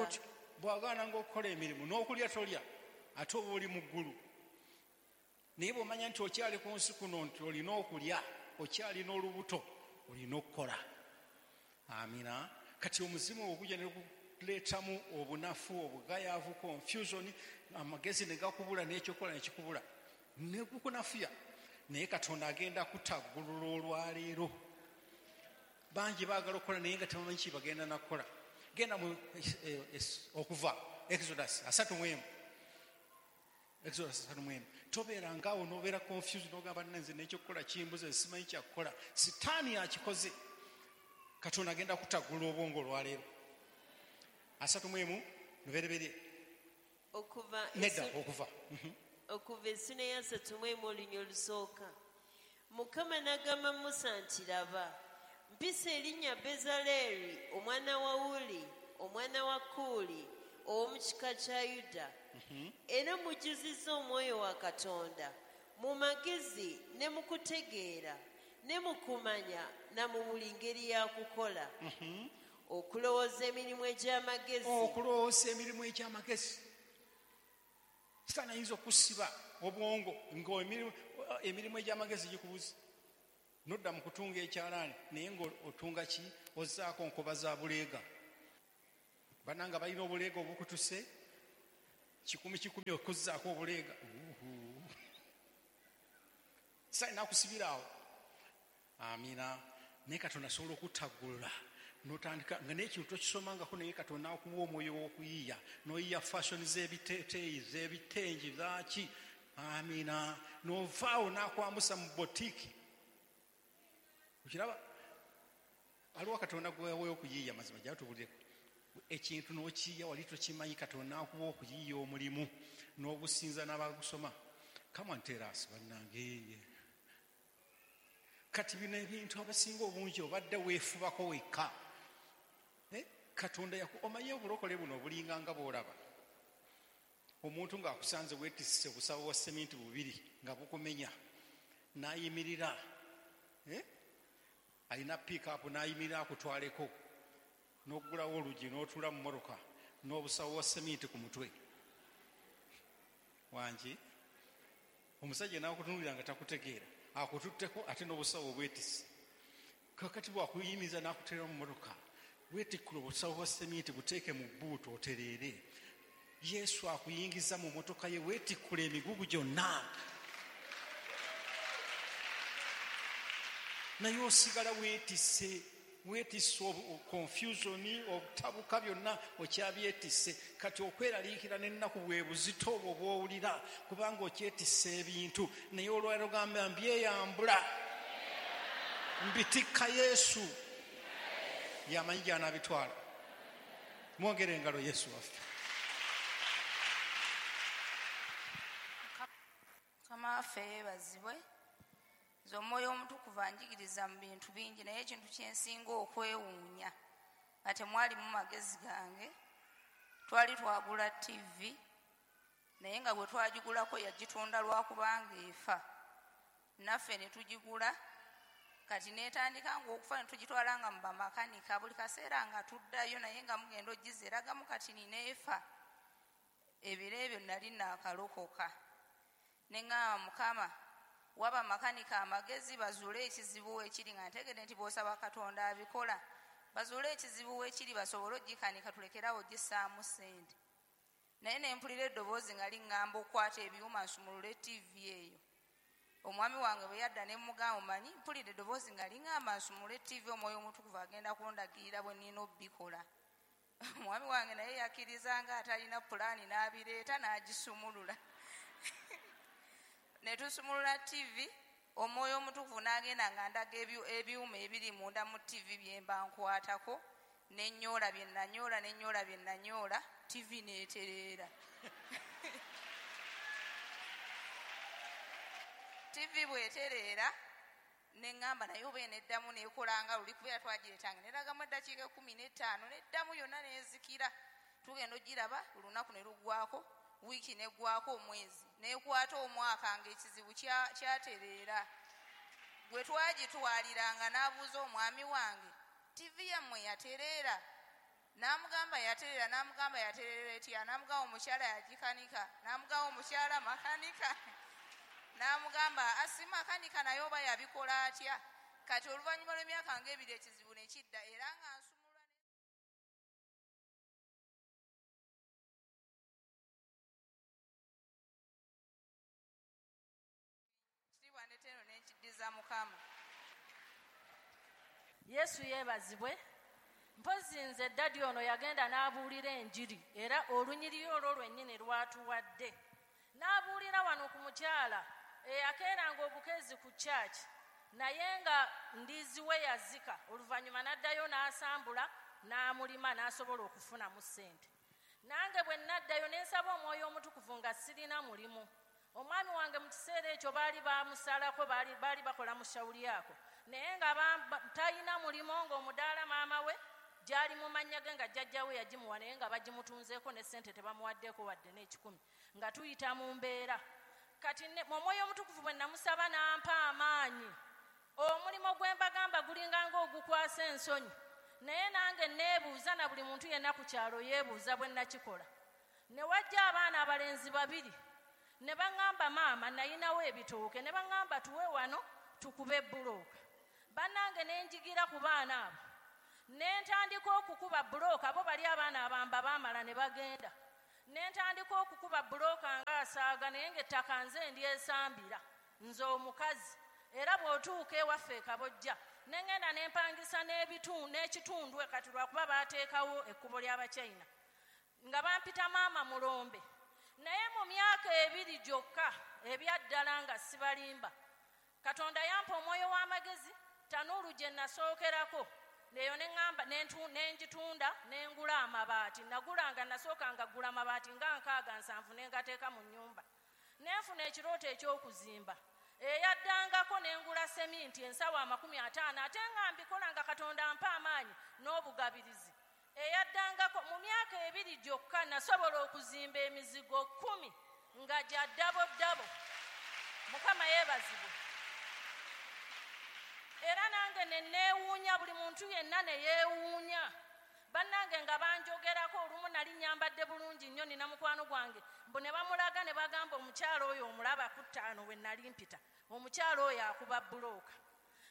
Bw'agaananga okukola emirimu n'okulya tolya, ate oba oli mu ggulu. Naye bw'omanya nti okyali ku nsi kuno nti olina okulya, okyalina olubuto, olina okukola. Amina. Kati omuzimu ogujja ne guleetamu obunafu, obugayaavu, confusion, amagezi ne gakubula n'ekyokukola ne kikubula ne gukunafuya. Naye Katonda agenda kutaggulula olwaleero. Bangi baagala okukola naye nga tebamanyi ki bagenda nakukola. Genda mu okuva Exodus 31. Exodus 31. Tobeeranga awo n'obeera confused n'ogamba nze n'ekyokukola kimbuze simanyi kyakukola. Sitaani akikoze. Katonda agenda kutaggulula obwongo olwaleero. 31 lubereberye. Okuva. Okuva essula 31. Mukama n'agamba Musa nti laba, mpisa erinnya Bezaleeri omwana wa Wuli omwana wa Kuuli ow'omu kika kya Yuda, era mujjuzizza omwoyo wa Katonda mu magezi ne mu kutegeera ne mu kumanya na mu buli ngeri ya kukola. Okulowooza emirimu egy'amagezi. Okulowooza emirimu egy'amagezi. Sitaani ayinza okusiba obwongo ng'emirimu egy'amagezi gikubuze. Nodda mu kutunga ekyalaani naye ng'otunga ki? Ozzaako nkoba za buleega. Bannanga balina obuleega obukutuse kikumi kikumi okuzzaako obuleega. Sitaani n'akusibira awo. Amiina. Naye Katonda asobola okutaggulula n'otandika nga n'ekintu tokisomangako, naye Katonda akuwa omwoyo w'okuyiiya, n'oyiiya fashion z'ebiteeteeyi, z'ebitengi, zaaki. Amiina. N'ovaawo n'akwambusa mu botiiki. Okiraba? Aliwo Katonda gwewaweeyo okuyiiya, mazima gyatubulireko. Ekintu n'okiyiiya wali tokimanyi, Katonda akuwa okuyiiya omulimu n'ogusinza n'abagusoma. Come on, tell us, bannange. Kati bino ebintu abasinga obungi obadde weefubako wekka. Katonda omanyi obulokole buno obulinga nga bw'olaba. Omuntu ng'akusanze weetisse obusawo bwa seminti bubiri nga bukumenya, n'ayimirira. Alina pick-up n'ayimirira akutwaleko, n'oggulawo oluggi n'otuula mu mmotoka n'obusawo bwa seminti ku mutwe. Wangi? Omusajja n'akutunuulira nga takutegeera, akututteko ate n'obusawo obwetisse. Kakati bw'akuyimiza n'akuteera mu mmotoka, weetikkula obusawo bwa seminti buteeke mu bbuutu otereere. Yesu akuyingiza mu mmotoka ye, weetikkula emigugu gyonna. Naye osigala weetisse, weetisse confusion, obutabuka byonna okyabyetisse. Kati okweraliikira n'ennaku bwe buzito obwo bw'owulira kubanga okyetisse ebintu, naye olwaleero ogamba mbyeyambula, mbitikka Yesu, yamanyi gy'anaabitwala. Mwongere engalo Yesu waffe. Mukama waffe yeebazibwe. Nze omwoyo omutukuvu anjigiriza mu bintu bingi, naye ekintu kye nsinga okwewuunya nga temwalimu magezi gange, twali twagula TV, naye nga bwe twagigulako yagitunda lwakubanga efa, naffe ne tugigula. Kati n'etandika ng'okufa ne tugitwala nga mu bamakanika, buli kaseera nga tuddayo, naye nga mugenda ogizeeragamu kati nina efa. Ebiro ebyo nali naakalokoka, ne ŋŋamba Mukama, waba makanika amagezi bazuule ekizibu wekiri, nga ntegedde nti bw'osaba Katonda abikola, bazuule ekizibu wekiri basobole ogikanika tulekerawo ogissaamu ssente. Naye ne mpulira eddoboozi nga liŋŋamba okukwata ebyuma nsumulule TV eyo. Omwami wange bwe yadda ne mmugamba, omanyi mpulira eddoboozi nga liŋŋamba nsumulule TV, omwoyo omutukuvu agenda kundagirira bwe nnina obbikola. Omwami wange naye yakkiriza nga atalina pulaani n'abireeta n'agisumulula. Ne tusumulula TV, omwoyo omutukuvu n'agenda nga ndaga ebyuma ebiri munda mu TV bye mba nkwatako, ne nnyoola bye nanyoola, ne nnyoola bye nanyoola, TV n'etereera. TV bw'etereera, ne ŋŋamba naye oba eneddamu n'ekola nga luli, kubeera twagireetanga neragamu eddakiika 15 n'eddamu yonna n'ezikira. Tugenda ogiraba olunaku ne luggwako, wiiki n'eggwako, omwezi n'ekwata omwaka ng'ekizibu kyatereera. Gwe twagitwaliranga n'abuuza omwami wange, TV yammwe yatereera? N'amugamba yatereera, n'amugamba yatereera etya? N'amugamba omukyala yagikanika, n'amugamba omukyala makanika, n'amugamba asi makanika naye oba yabikola atya? Kati oluvannyuma lw'emyaka ng'ebiri ekizibu ne kidda, era nga nsumulula kitiibwa ne teno n'enkiddiza Mukama. Yesu yeebazibwe. Mpozzi nze ddadi ono yagenda n'abuulira enjiri, era olunyiriri olwo lwennyini lwatuwadde. N'abuulira wano ku mukyala eyakeeranga obukeezi ku church, naye nga ndiizi we yazika, oluvannyuma n'addayo n'asambula n'amulima n'asobola okufunamu ssente. Nange bwe naddayo ne nsaba omwoyo omutukuvu nga sirina mulimu. Omwami wange mu kiseera ekyo baali bamusalako, baali bakola mu shawuli ako, naye nga talina mulimu, ng'omudaala maama we gyali mu mannya ge nga jjajja we yagimuwa, naye nga bagimutunzeeko ne ssente tebamuwaddeeko wadde n'ekikumi, nga tuyita mu mbeera. Kati omwoyo omutukuvu bwe namusaba n'ampa amaanyi, omulimu gwe mbagamba gulinga ng'ogukwasa ensonyi, naye nange neebuuza, na buli muntu yenna ku kyalo yeebuuza bwe nakikola. Ne wajja abaana abalenzi babiri ne baŋŋamba, maama nayinawo ebitooke, ne baŋŋamba tuwe wano tukube bbulooka. Bannange ne njigira ku baana abo. Ne ntandika okukuba bbulooka, bo bali abaana abamba baamala ne bagenda. Ne ntandika okukuba bbulooka ng'asaaga, naye ng'ettaka nze ndyesambira, nze omukazi. Era bw'otuuka ewaffe e Kabojja, ne ŋŋenda ne mpangisa n'ekitundu kati lwakuba baateekawo ekkubo ly'Abachina. Nga bampita maama Mulombe. Naye mu myaka 2 gyokka ebyaddala nga sibalimba, Katonda yampa omwoyo w'amagezi, tanuulu gye nasookerako neyo ne ŋŋamba ne ngitunda ne ngula amabaati. Nagulanga, nasookanga ggula amabaati nga 67 ne ngateeka mu nnyumba. Ne nfuna ekirooto eky'okuzimba. Eyaddangako ne ngula seminti ensawo 50, ate nga mbikola nga Katonda ampa amaanyi n'obugabirizi. Eyaddangako mu myaka 2 gyokka nasobola okuzimba emizigo 10 nga gya ddabo ddabo. Mukama yeebazibwe. Era nange ne neewuunya, buli muntu yenna ne yeewuunya. Bannange nga banjogerako, olumu nali nnyambadde bulungi nnyo, nina mukwano gwange, mbu ne bamulaga ne bagamba omukyala oyo omulaba ku 5 we nali mpita, omukyala oyo akuba bbulooka.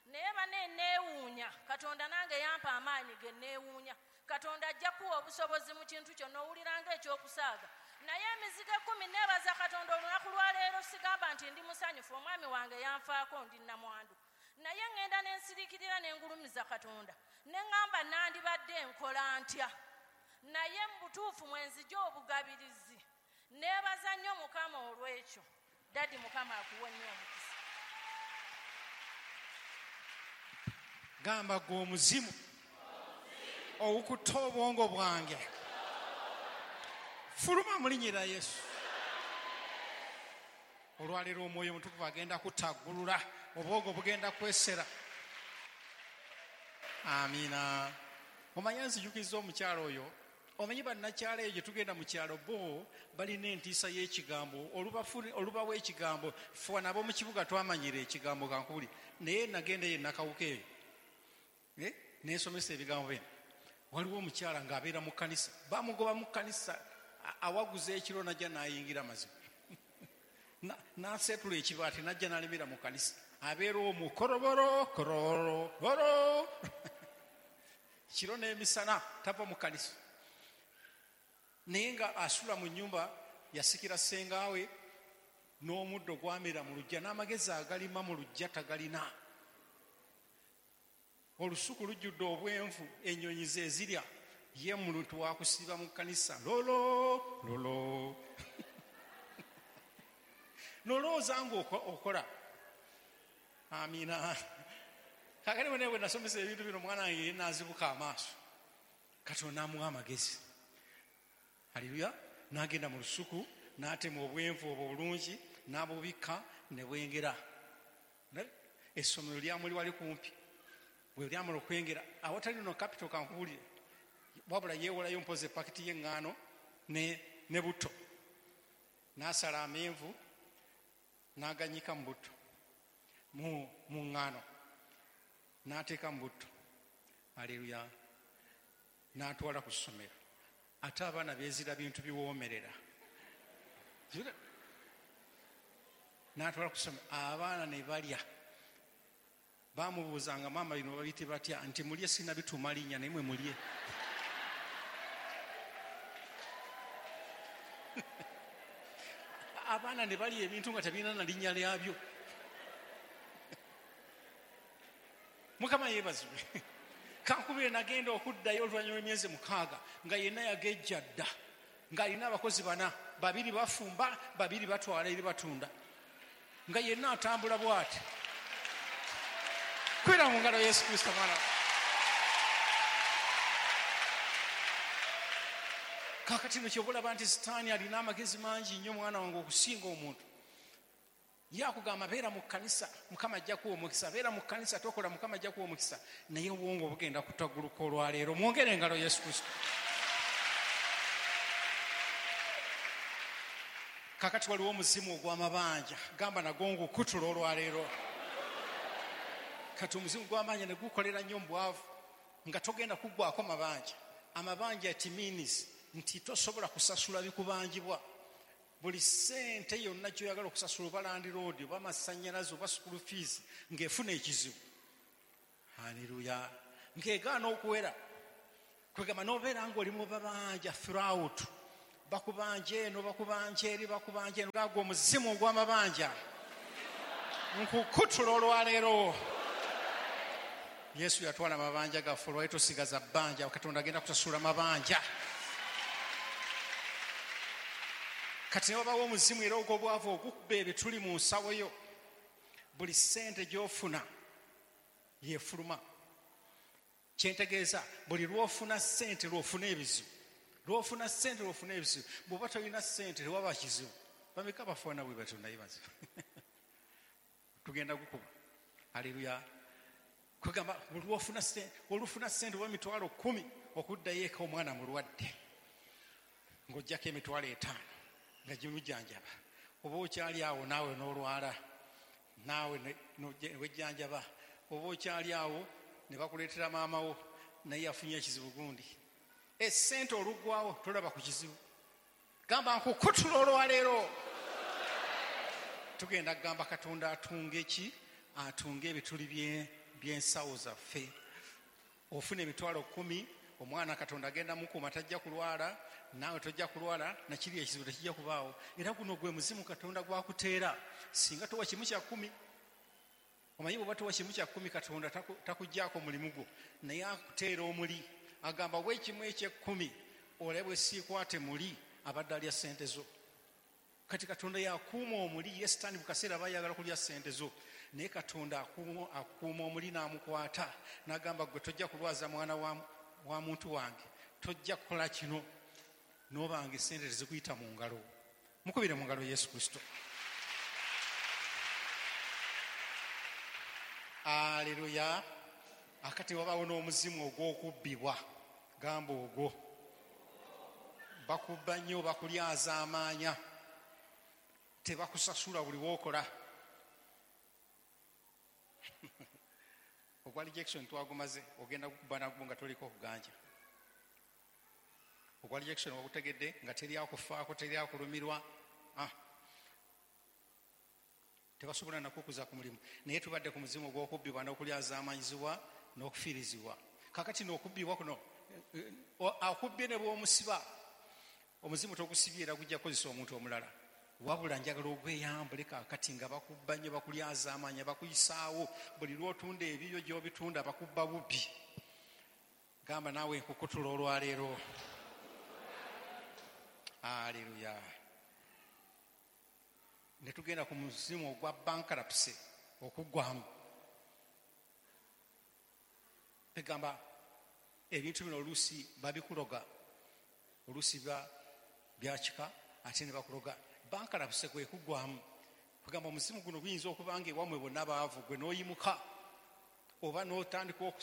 Naye banne neewuunya, Katonda nange yampa amaanyi ge neewuunya. Katonda ajja kuwa obusobozi mu kintu kyonna, owulira ng'ekyokusaaga. Naye emizigo 10 neebaza Katonda olunaku lwa leero, sigamba nti ndi musanyufu, omwami wange yanfaako, ndi nnamwandu. Naye ŋŋenda ne nsiriikirira ne ngulumiza Katonda, ne ŋŋamba nandibadde nkola ntya. Naye mu butuufu mwe nzija obugabirizi. Neebaza nnyo Mukama olw'ekyo. Dadi, Mukama akuwe nnyo omukisa. Gamba gwe omuzimu ogukutta obwongo bwange, fuluma mu linnya lya Yesu. Olwaleero omwoyo omutukuvu agenda kutaggulula, obwongo bugenda kwesera. Amiina. Omanyi nzijukiza omukyala oyo, omanyi bannakyalo eyo gye tugenda mu kyalo, bo balina entiisa y'ekigambo, olubawo ekigambo. Ffe wano ab'omu kibuga twamanyira ekigambo, kankubuli. Naye nagenda eyo Nakawuka eyo, nensomesa ebigambo bino. Waliwo omukyala ng'abeera mu kkanisa, bamugoba mu kkanisa, awaguza ekiro n'ajja n'ayingira amazima. N'aseetula ekibaati n'ajja n'alemera mu kkanisa. Abeera omwo koroboro, kororo, koro. Kiro n'emisana tava mu kkanisa. Naye nga asula mu nnyumba, yasikira ssengaawe n'omuddo gwamera mu luggya, n'amagezi agalima mu luggya tagalina. Olusuku lujjudde obwenvu, ennyonyi ze zirya. Ye muntu wakusiiba mu kkanisa, lolo, lolo. Nolowooza ng'okola. Amiina. Kaakati bwe bwe nasomesa ebintu bino, omwana wange ye n'azibuka amaaso. Katonda n'amuwa amagezi. Haleluya. N'agenda mu lusuku, n'atema obwenvu obwo obulungi, n'abubikka ne bwengera. Essomero lyamuli wali kumpi. Bwe lyamala okwengera, awatali no capital kankubulire, wabula yeewolayo mpozi epakiti y'eŋŋaano ne butto. N'asala amenvu n'aganyika mu butto, mu ŋŋaano, n'ateeka mu butto. Haleluya. N'atwala ku ssomero. Ate abaana beezira bintu biwoomerera. N'atwala ku ssomero, abaana ne balya. Baamubuuzanga, maama bino babiyite batya? Nti mulye, sinnabituuma linnya, naye mwe mulye. Abaana ne balya ebintu nga tebirina na linnya lyabyo. Mukama yeebazibwe. Kankubire nagenda okuddayo oluvannyuma lw'emyezi 6 nga yenna yagejja dda, ng'alina abakozi 4, 2 bafumba, 2 batwala eri batunda, nga yenna atambula bw'ati. Kwera mu ngalo Yesu Kristo mwana. Kaakati no ky'oba olaba nti Sitaani alina amagezi mangi nnyo mwana wange okusinga omuntu. Ye akugamba beera mu kkanisa, Mukama ajja kuwa omukisa, beera mu kkanisa tokola, Mukama ajja kuwa omukisa. Naye obwongo bugenda kutagguluka olwaleero. Mwongere engalo Yesu Kristo. Kaakati waliwo omuzimu ogw'amabanja, gamba nagwo ngukutula olwaleero. Kati omuzimu gw'amabanja ne gukolera nnyo mu bwavu, nga togenda kuggwako mabanja. Amabanja it means nti tosobola kusasula bikubanjibwa. Buli ssente yonna gy'oyagala okusasula, oba landlord, oba amasannyalaze, oba school fees, ng'efuna ekizibu. Haleluya. Ng'egaana okuwera. Kwegamba n'obeera ng'oli mu babanja throughout, bakubanja eno, bakubanja eri, bakubanja eno, gagwo omuzimu ogw'amabanja nkukutula olwaleero. Yesu yatwala amabanja gaffe, olwali tosigaza bbanja, Katonda agenda kutasula mabanja. Kati ne wabawo omuzimu era ogw'obwavu ogukuba ebituli mu nsawo yo, buli ssente gy'ofuna yefuluma. Kyentegeeza buli lw'ofuna ssente lw'ofuna ebizibu, lw'ofuna ssente lw'ofuna ebizibu. Bw'oba tolina ssente tewaba kizibu. Bameka bafaana bwe batyo naye bazibu. Tugenda gukuba. Haleluya. Kwegamba olwofuna ssente, olufuna ssente oba 10,000 okuddayo eka omwana mulwadde, ng'oggyako 50,000 nga gimujjanjaba, oba okyali awo naawe n'olwala, naawe wejjanjaba, oba okyali awo ne bakuleetera maama wo naye yafunye ekizibu gundi. Essente oluggwawo tolaba ku kizibu. Gamba nkukutula olwaleero. Tugenda kugamba Katonda atunge ki? Atunge ebituli by'ensawo zaffe. Ofuna 10,000, omwana Katonda agenda mukuuma, tajja kulwala, naawe tojja kulwala, nakiri ekizibu tekijja kubaawo. Era guno gwe muzimu Katonda gwakuteera. Singa towa 1/10, omanyi bw'oba towa 1/10 Katonda takuggyako mulimu gwo, naye akuteera omuli. Agamba bwe 1/10 olabe bwe siikwate muli abadde alya ssente zo. Kati Katonda yakuuma omuli. Ye Sitaani mu kaseera aba ayagala kulya ssente zo, naye Katonda akuuma omuli n'amukwata n'agamba gwe tojja kulwaza mwana wa muntu wange, tojja kukola kino, n'obanga essente tezikuyita mu ngalo. Mukubire mu ngalo Yesu Kristo. Aleluya. Akati wabaawo n'omuzimu ogw'okubbibwa. Gamba ogwo bakubba nnyo, bakulyaza amaanya, tebakusasula buli w'okola. Ogwa rejection twagumaze, ogenda kukuba nagwo nga toliko okuganja. Ogwa rejection wagutegedde nga teri akufaako, teri akulumirwa, tebasobola nakukuza ku mulimu. Naye tubadde ku muzimu ogw'okubbibwa n'okulyazaamanyizibwa n'okufiirizibwa. Kakati n'okubbibwa kuno, akubbye ne bw'omusiba, omuzimu togusibye era gujja kukozesa omuntu omulala. Wabula njagala ogweyambule kaakati nga bakubba nnyo, bakulyazaamanya, bakuyisaawo, buli lw'otunda ebibyo gy'obitunda bakubba bubbi. Gamba naawe nkukutula olwaleero. Aleluya. Ne tugenda ku muzimu ogwa bankruptcy, okuggwamu. Egamba ebintu bino oluusi babikuloga, oluusi byakika ate ne bakuloga. Bankruptcy kwe kuggwamu. Kugamba omuzimu guno guyinza okuba nga ewammwe bonna baavu, gwe n'oyimuka oba n'otandika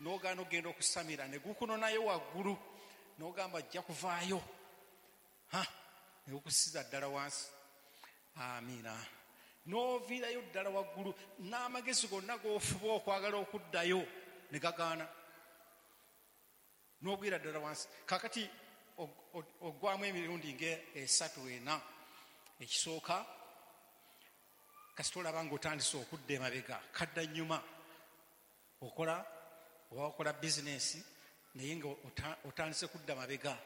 n'ogaana okugenda okusamira, ne gukunonayo waggulu n'ogamba ajja kuvaayo, ne gukusiza ddala wansi. Amiina. N'oviirayo ddala waggulu, n'amagezi gonna g'ofuba okwagala okuddayo ne gagaana, n'ogwira ddala wansi. Kaakati oggwamu emirundi nga 3 4. Ekisooka, kasita olaba ng'otandise okudda emabega, kadda nnyuma, okola oba okola bizinensi naye nga otandise kudda mabega,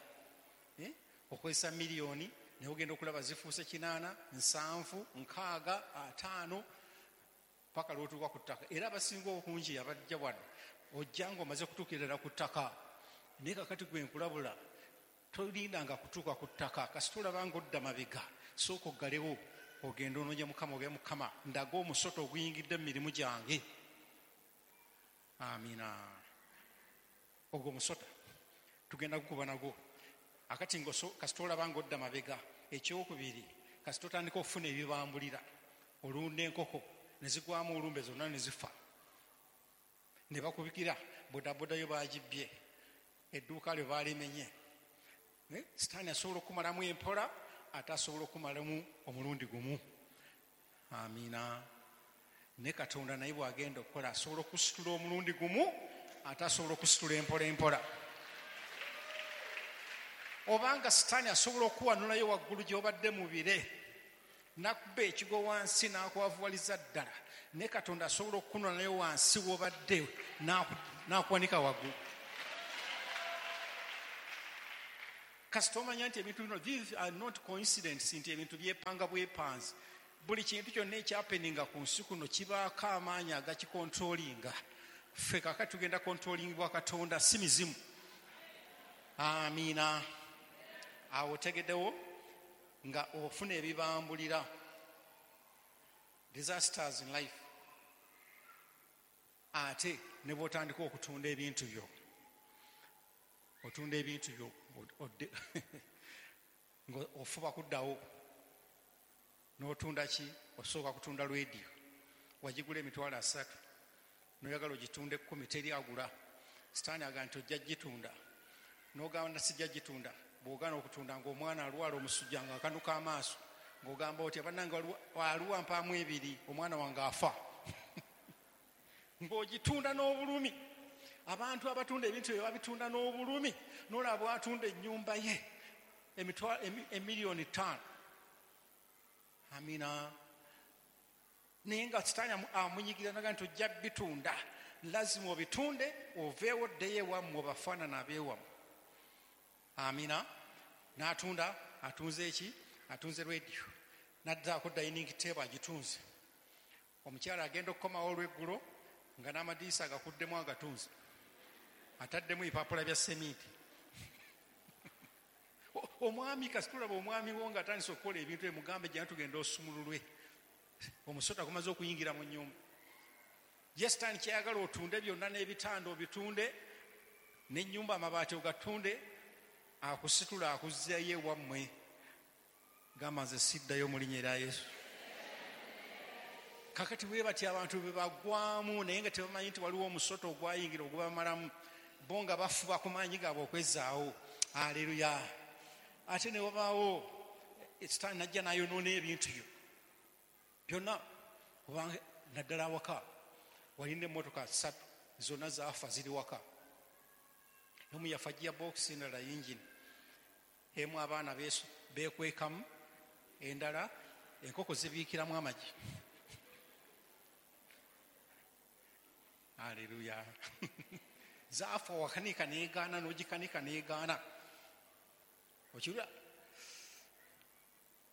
okozesa miliyoni naye ogenda okulaba zifuuse 8, 7, 6, 5 paka lw'otuuka ku ttaka. Era abasinga obungi abajja wano ojja ng'omaze kutuukirira ku ttaka. Naye kakati gwe nkulabula, tolindanga kutuuka ku ttaka. Kasita olaba ng'odda mabega, sooka oggalewo ogende onoonye Mukama, ogende Mukama ndaga omusota oguyingidde mu mirimu gyange. Amiina. Ogwo omusota tugenda gukuba nagwo. Akati kasita olaba ng'odda mabega. Ekyokubiri, kasita otandika okufuna ebibambulira, olunda enkoko ne zigwamu olumbe zonna ne zifa, ne bakubikira bodaboda yo bagibbye, edduuka lyo baalimenye. Sitaani asobola okumalamu empola, ate asobola okumalamu omulundi gumu. Amiina. Ne Katonda naye bw'agenda okukola asobola okusitula omulundi gumu, ate asobola okusitula empola empola. Obanga Sitaani asobola okuwanulayo waggulu gy'obadde mu bire, n'akuba ekigo wansi n'akwavuwaliza ddala, ne Katonda asobola okukunulayo wansi w'obadde n'akuwanika waggulu. Kasita omanya nti ebintu bino, these are not coincidence, nti ebintu byepanga bwepanzi. Buli kintu kyonna ekyapeninga ku nsi kuno kibaako amaanyi agakikontrolinga. Ffe kaakati tugenda kontrolingibwa Katonda, si mizimu. Amiina. Awo otegeddewo nga ofuna ebibambulira, disasters in life. Ate ne bw'otandika okutunda ebintu byo, otunda ebintu byo ng'ofuba kuddawo n'otunda ki? Osooka kutunda rediyo, wagigula 300,000, n'oyagala ogitunde 10, teri agula. Sitaani agamba nti ojja gitunda, n'ogamba sijja gitunda. Bw'ogaana okutunda ng'omwana alwala omusujja ng'akanuka amaaso, ng'ogamba otya, bannange aliwo mpaamu 2, omwana wange afa. Ng'ogitunda n'obulumi. Abantu abatunda ebintu ebyo babitunda n'obulumi. N'olaba bw'atunda ennyumba ye 5,000,000. Amina. Naye nga Sitaani amunyigira naga nti ojja bitunda, lazima obitunde oveewo ddeyo ewammwe obafaanana abeewammwe. Amina. N'atunda, atunze eki? Atunze rediyo, n'addaako dining table agitunze. Omukyala agenda okukomawo olw'eggulo nga n'amadiisa agakuddemu agatunze, ataddemu ebipapula bya seminti. Omwami kasitulaba omwami wo ng'atandise okukola ebintu emugambe jja tugenda osumululwe, omusota gumaze okuyingira mu nnyumba. Ye Sitaani kyayagala otunde byonna, n'ebitanda obitunde, n'ennyumba amabaati ogatunde, akusitula akuzzeeyo ewammwe. Gamba nze siddayo mu linnya erya Yesu. Kakati bwe batyo abantu bwe bagwamu, naye nga tebamanyi nti waliwo omusota ogwayingira ogubamalamu, bo nga bafuba ku maanyi gaabwe okwezzaawo. Aleluya. Ate ne wabaawo Sitaani najja n'ayonoona ebintu byo byonna, kubanga naddala awaka walina emmotoka 3 zonna zaafa ziri waka. Emu yafa gearbox, endala yingini, emu abaana beekwekamu, endala enkoko zibiikiramu amagi. Aleluya. Zaafa wakanika neegaana, n'ogikanika neegaana. Okirula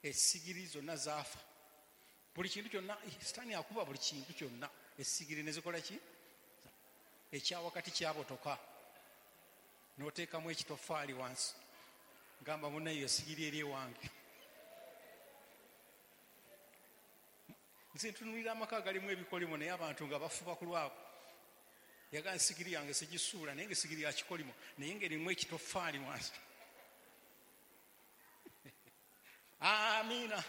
essigiri zonna zaafa, buli kintu kyonna. Sitaani akuba buli kintu kyonna, essigiri ne zikola ki? Ekyawakati kyabotoka, n'oteekamu ekitofaali wansi. Gamba munnayo essigiri eri ewange. Nze ntunuulira amaka agalimu ebikolimo, naye abantu nga bafuba ku lwabwe. Yagamba essigiri yange sigisuula, naye nga essigiri ya kikolimo, naye ng'erimu ekitofaali wansi. Amiina.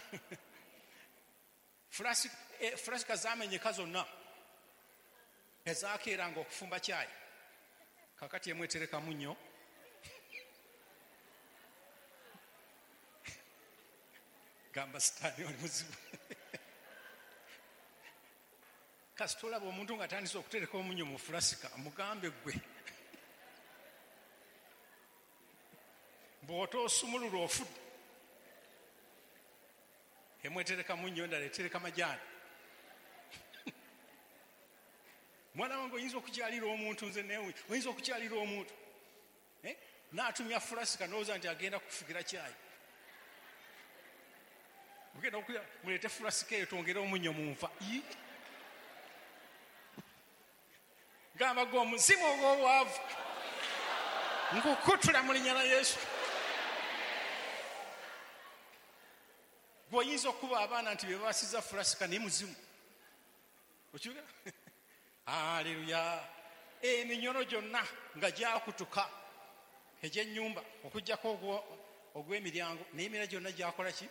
Fulasika zamenyeka zonna ezakeeranga okufumba kyayi, kakati emu eterekamu nnyo. Gamba Sitaani oli muzibu. Kasita olaba omuntu ng'atandise okutereka omunnyo mu fulasika, mugambe ggwe bw'otoosumulula ofudde. Emu etereka munnyo, endala etereka majaani. Mwana wange oyinza okukyalira omuntu, nze newe oyinza okukyalira omuntu n'atumya fulasika n'olowooza nti agenda kufugira kyayi. Ogenda okulya, muleete fulasika eyo twongere omunnyo mu nva. Gamba gwe omuzimu ogw'obwavu nkukutula mu linnya lya Yesu. Bw'oyinza okuba abaana nti be babasiza fulasika naye muzimu. Okiwulira? Aleluya. Eminyolo gyonna nga gyakutuka egy'ennyumba okuggyako ogw'emiryango, naye emirala gyonna gyakola ki?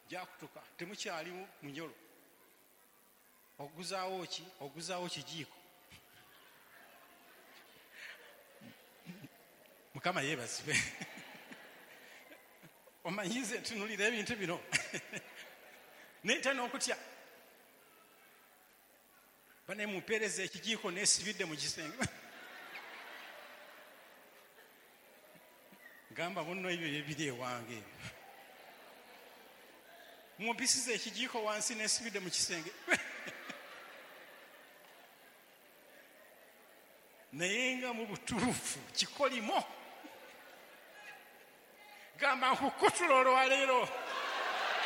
Gyakutuka. Temukyalimu munyolo. Oguzaawo ki? Oguzaawo kijiiko. Mukama yeebazibwe. Omanyize ntunulira ebintu bino nentya n'okutya. Bane mumpeereza ekijiiko neesibidde mu kisenge. Gamba munno ebyo ebiri ewange ebyo. Mumpisiza ekijiiko wansi neesibidde mu kisenge. Naye nga mu butuufu kikolimo. Gamba nkukutula olwaleero.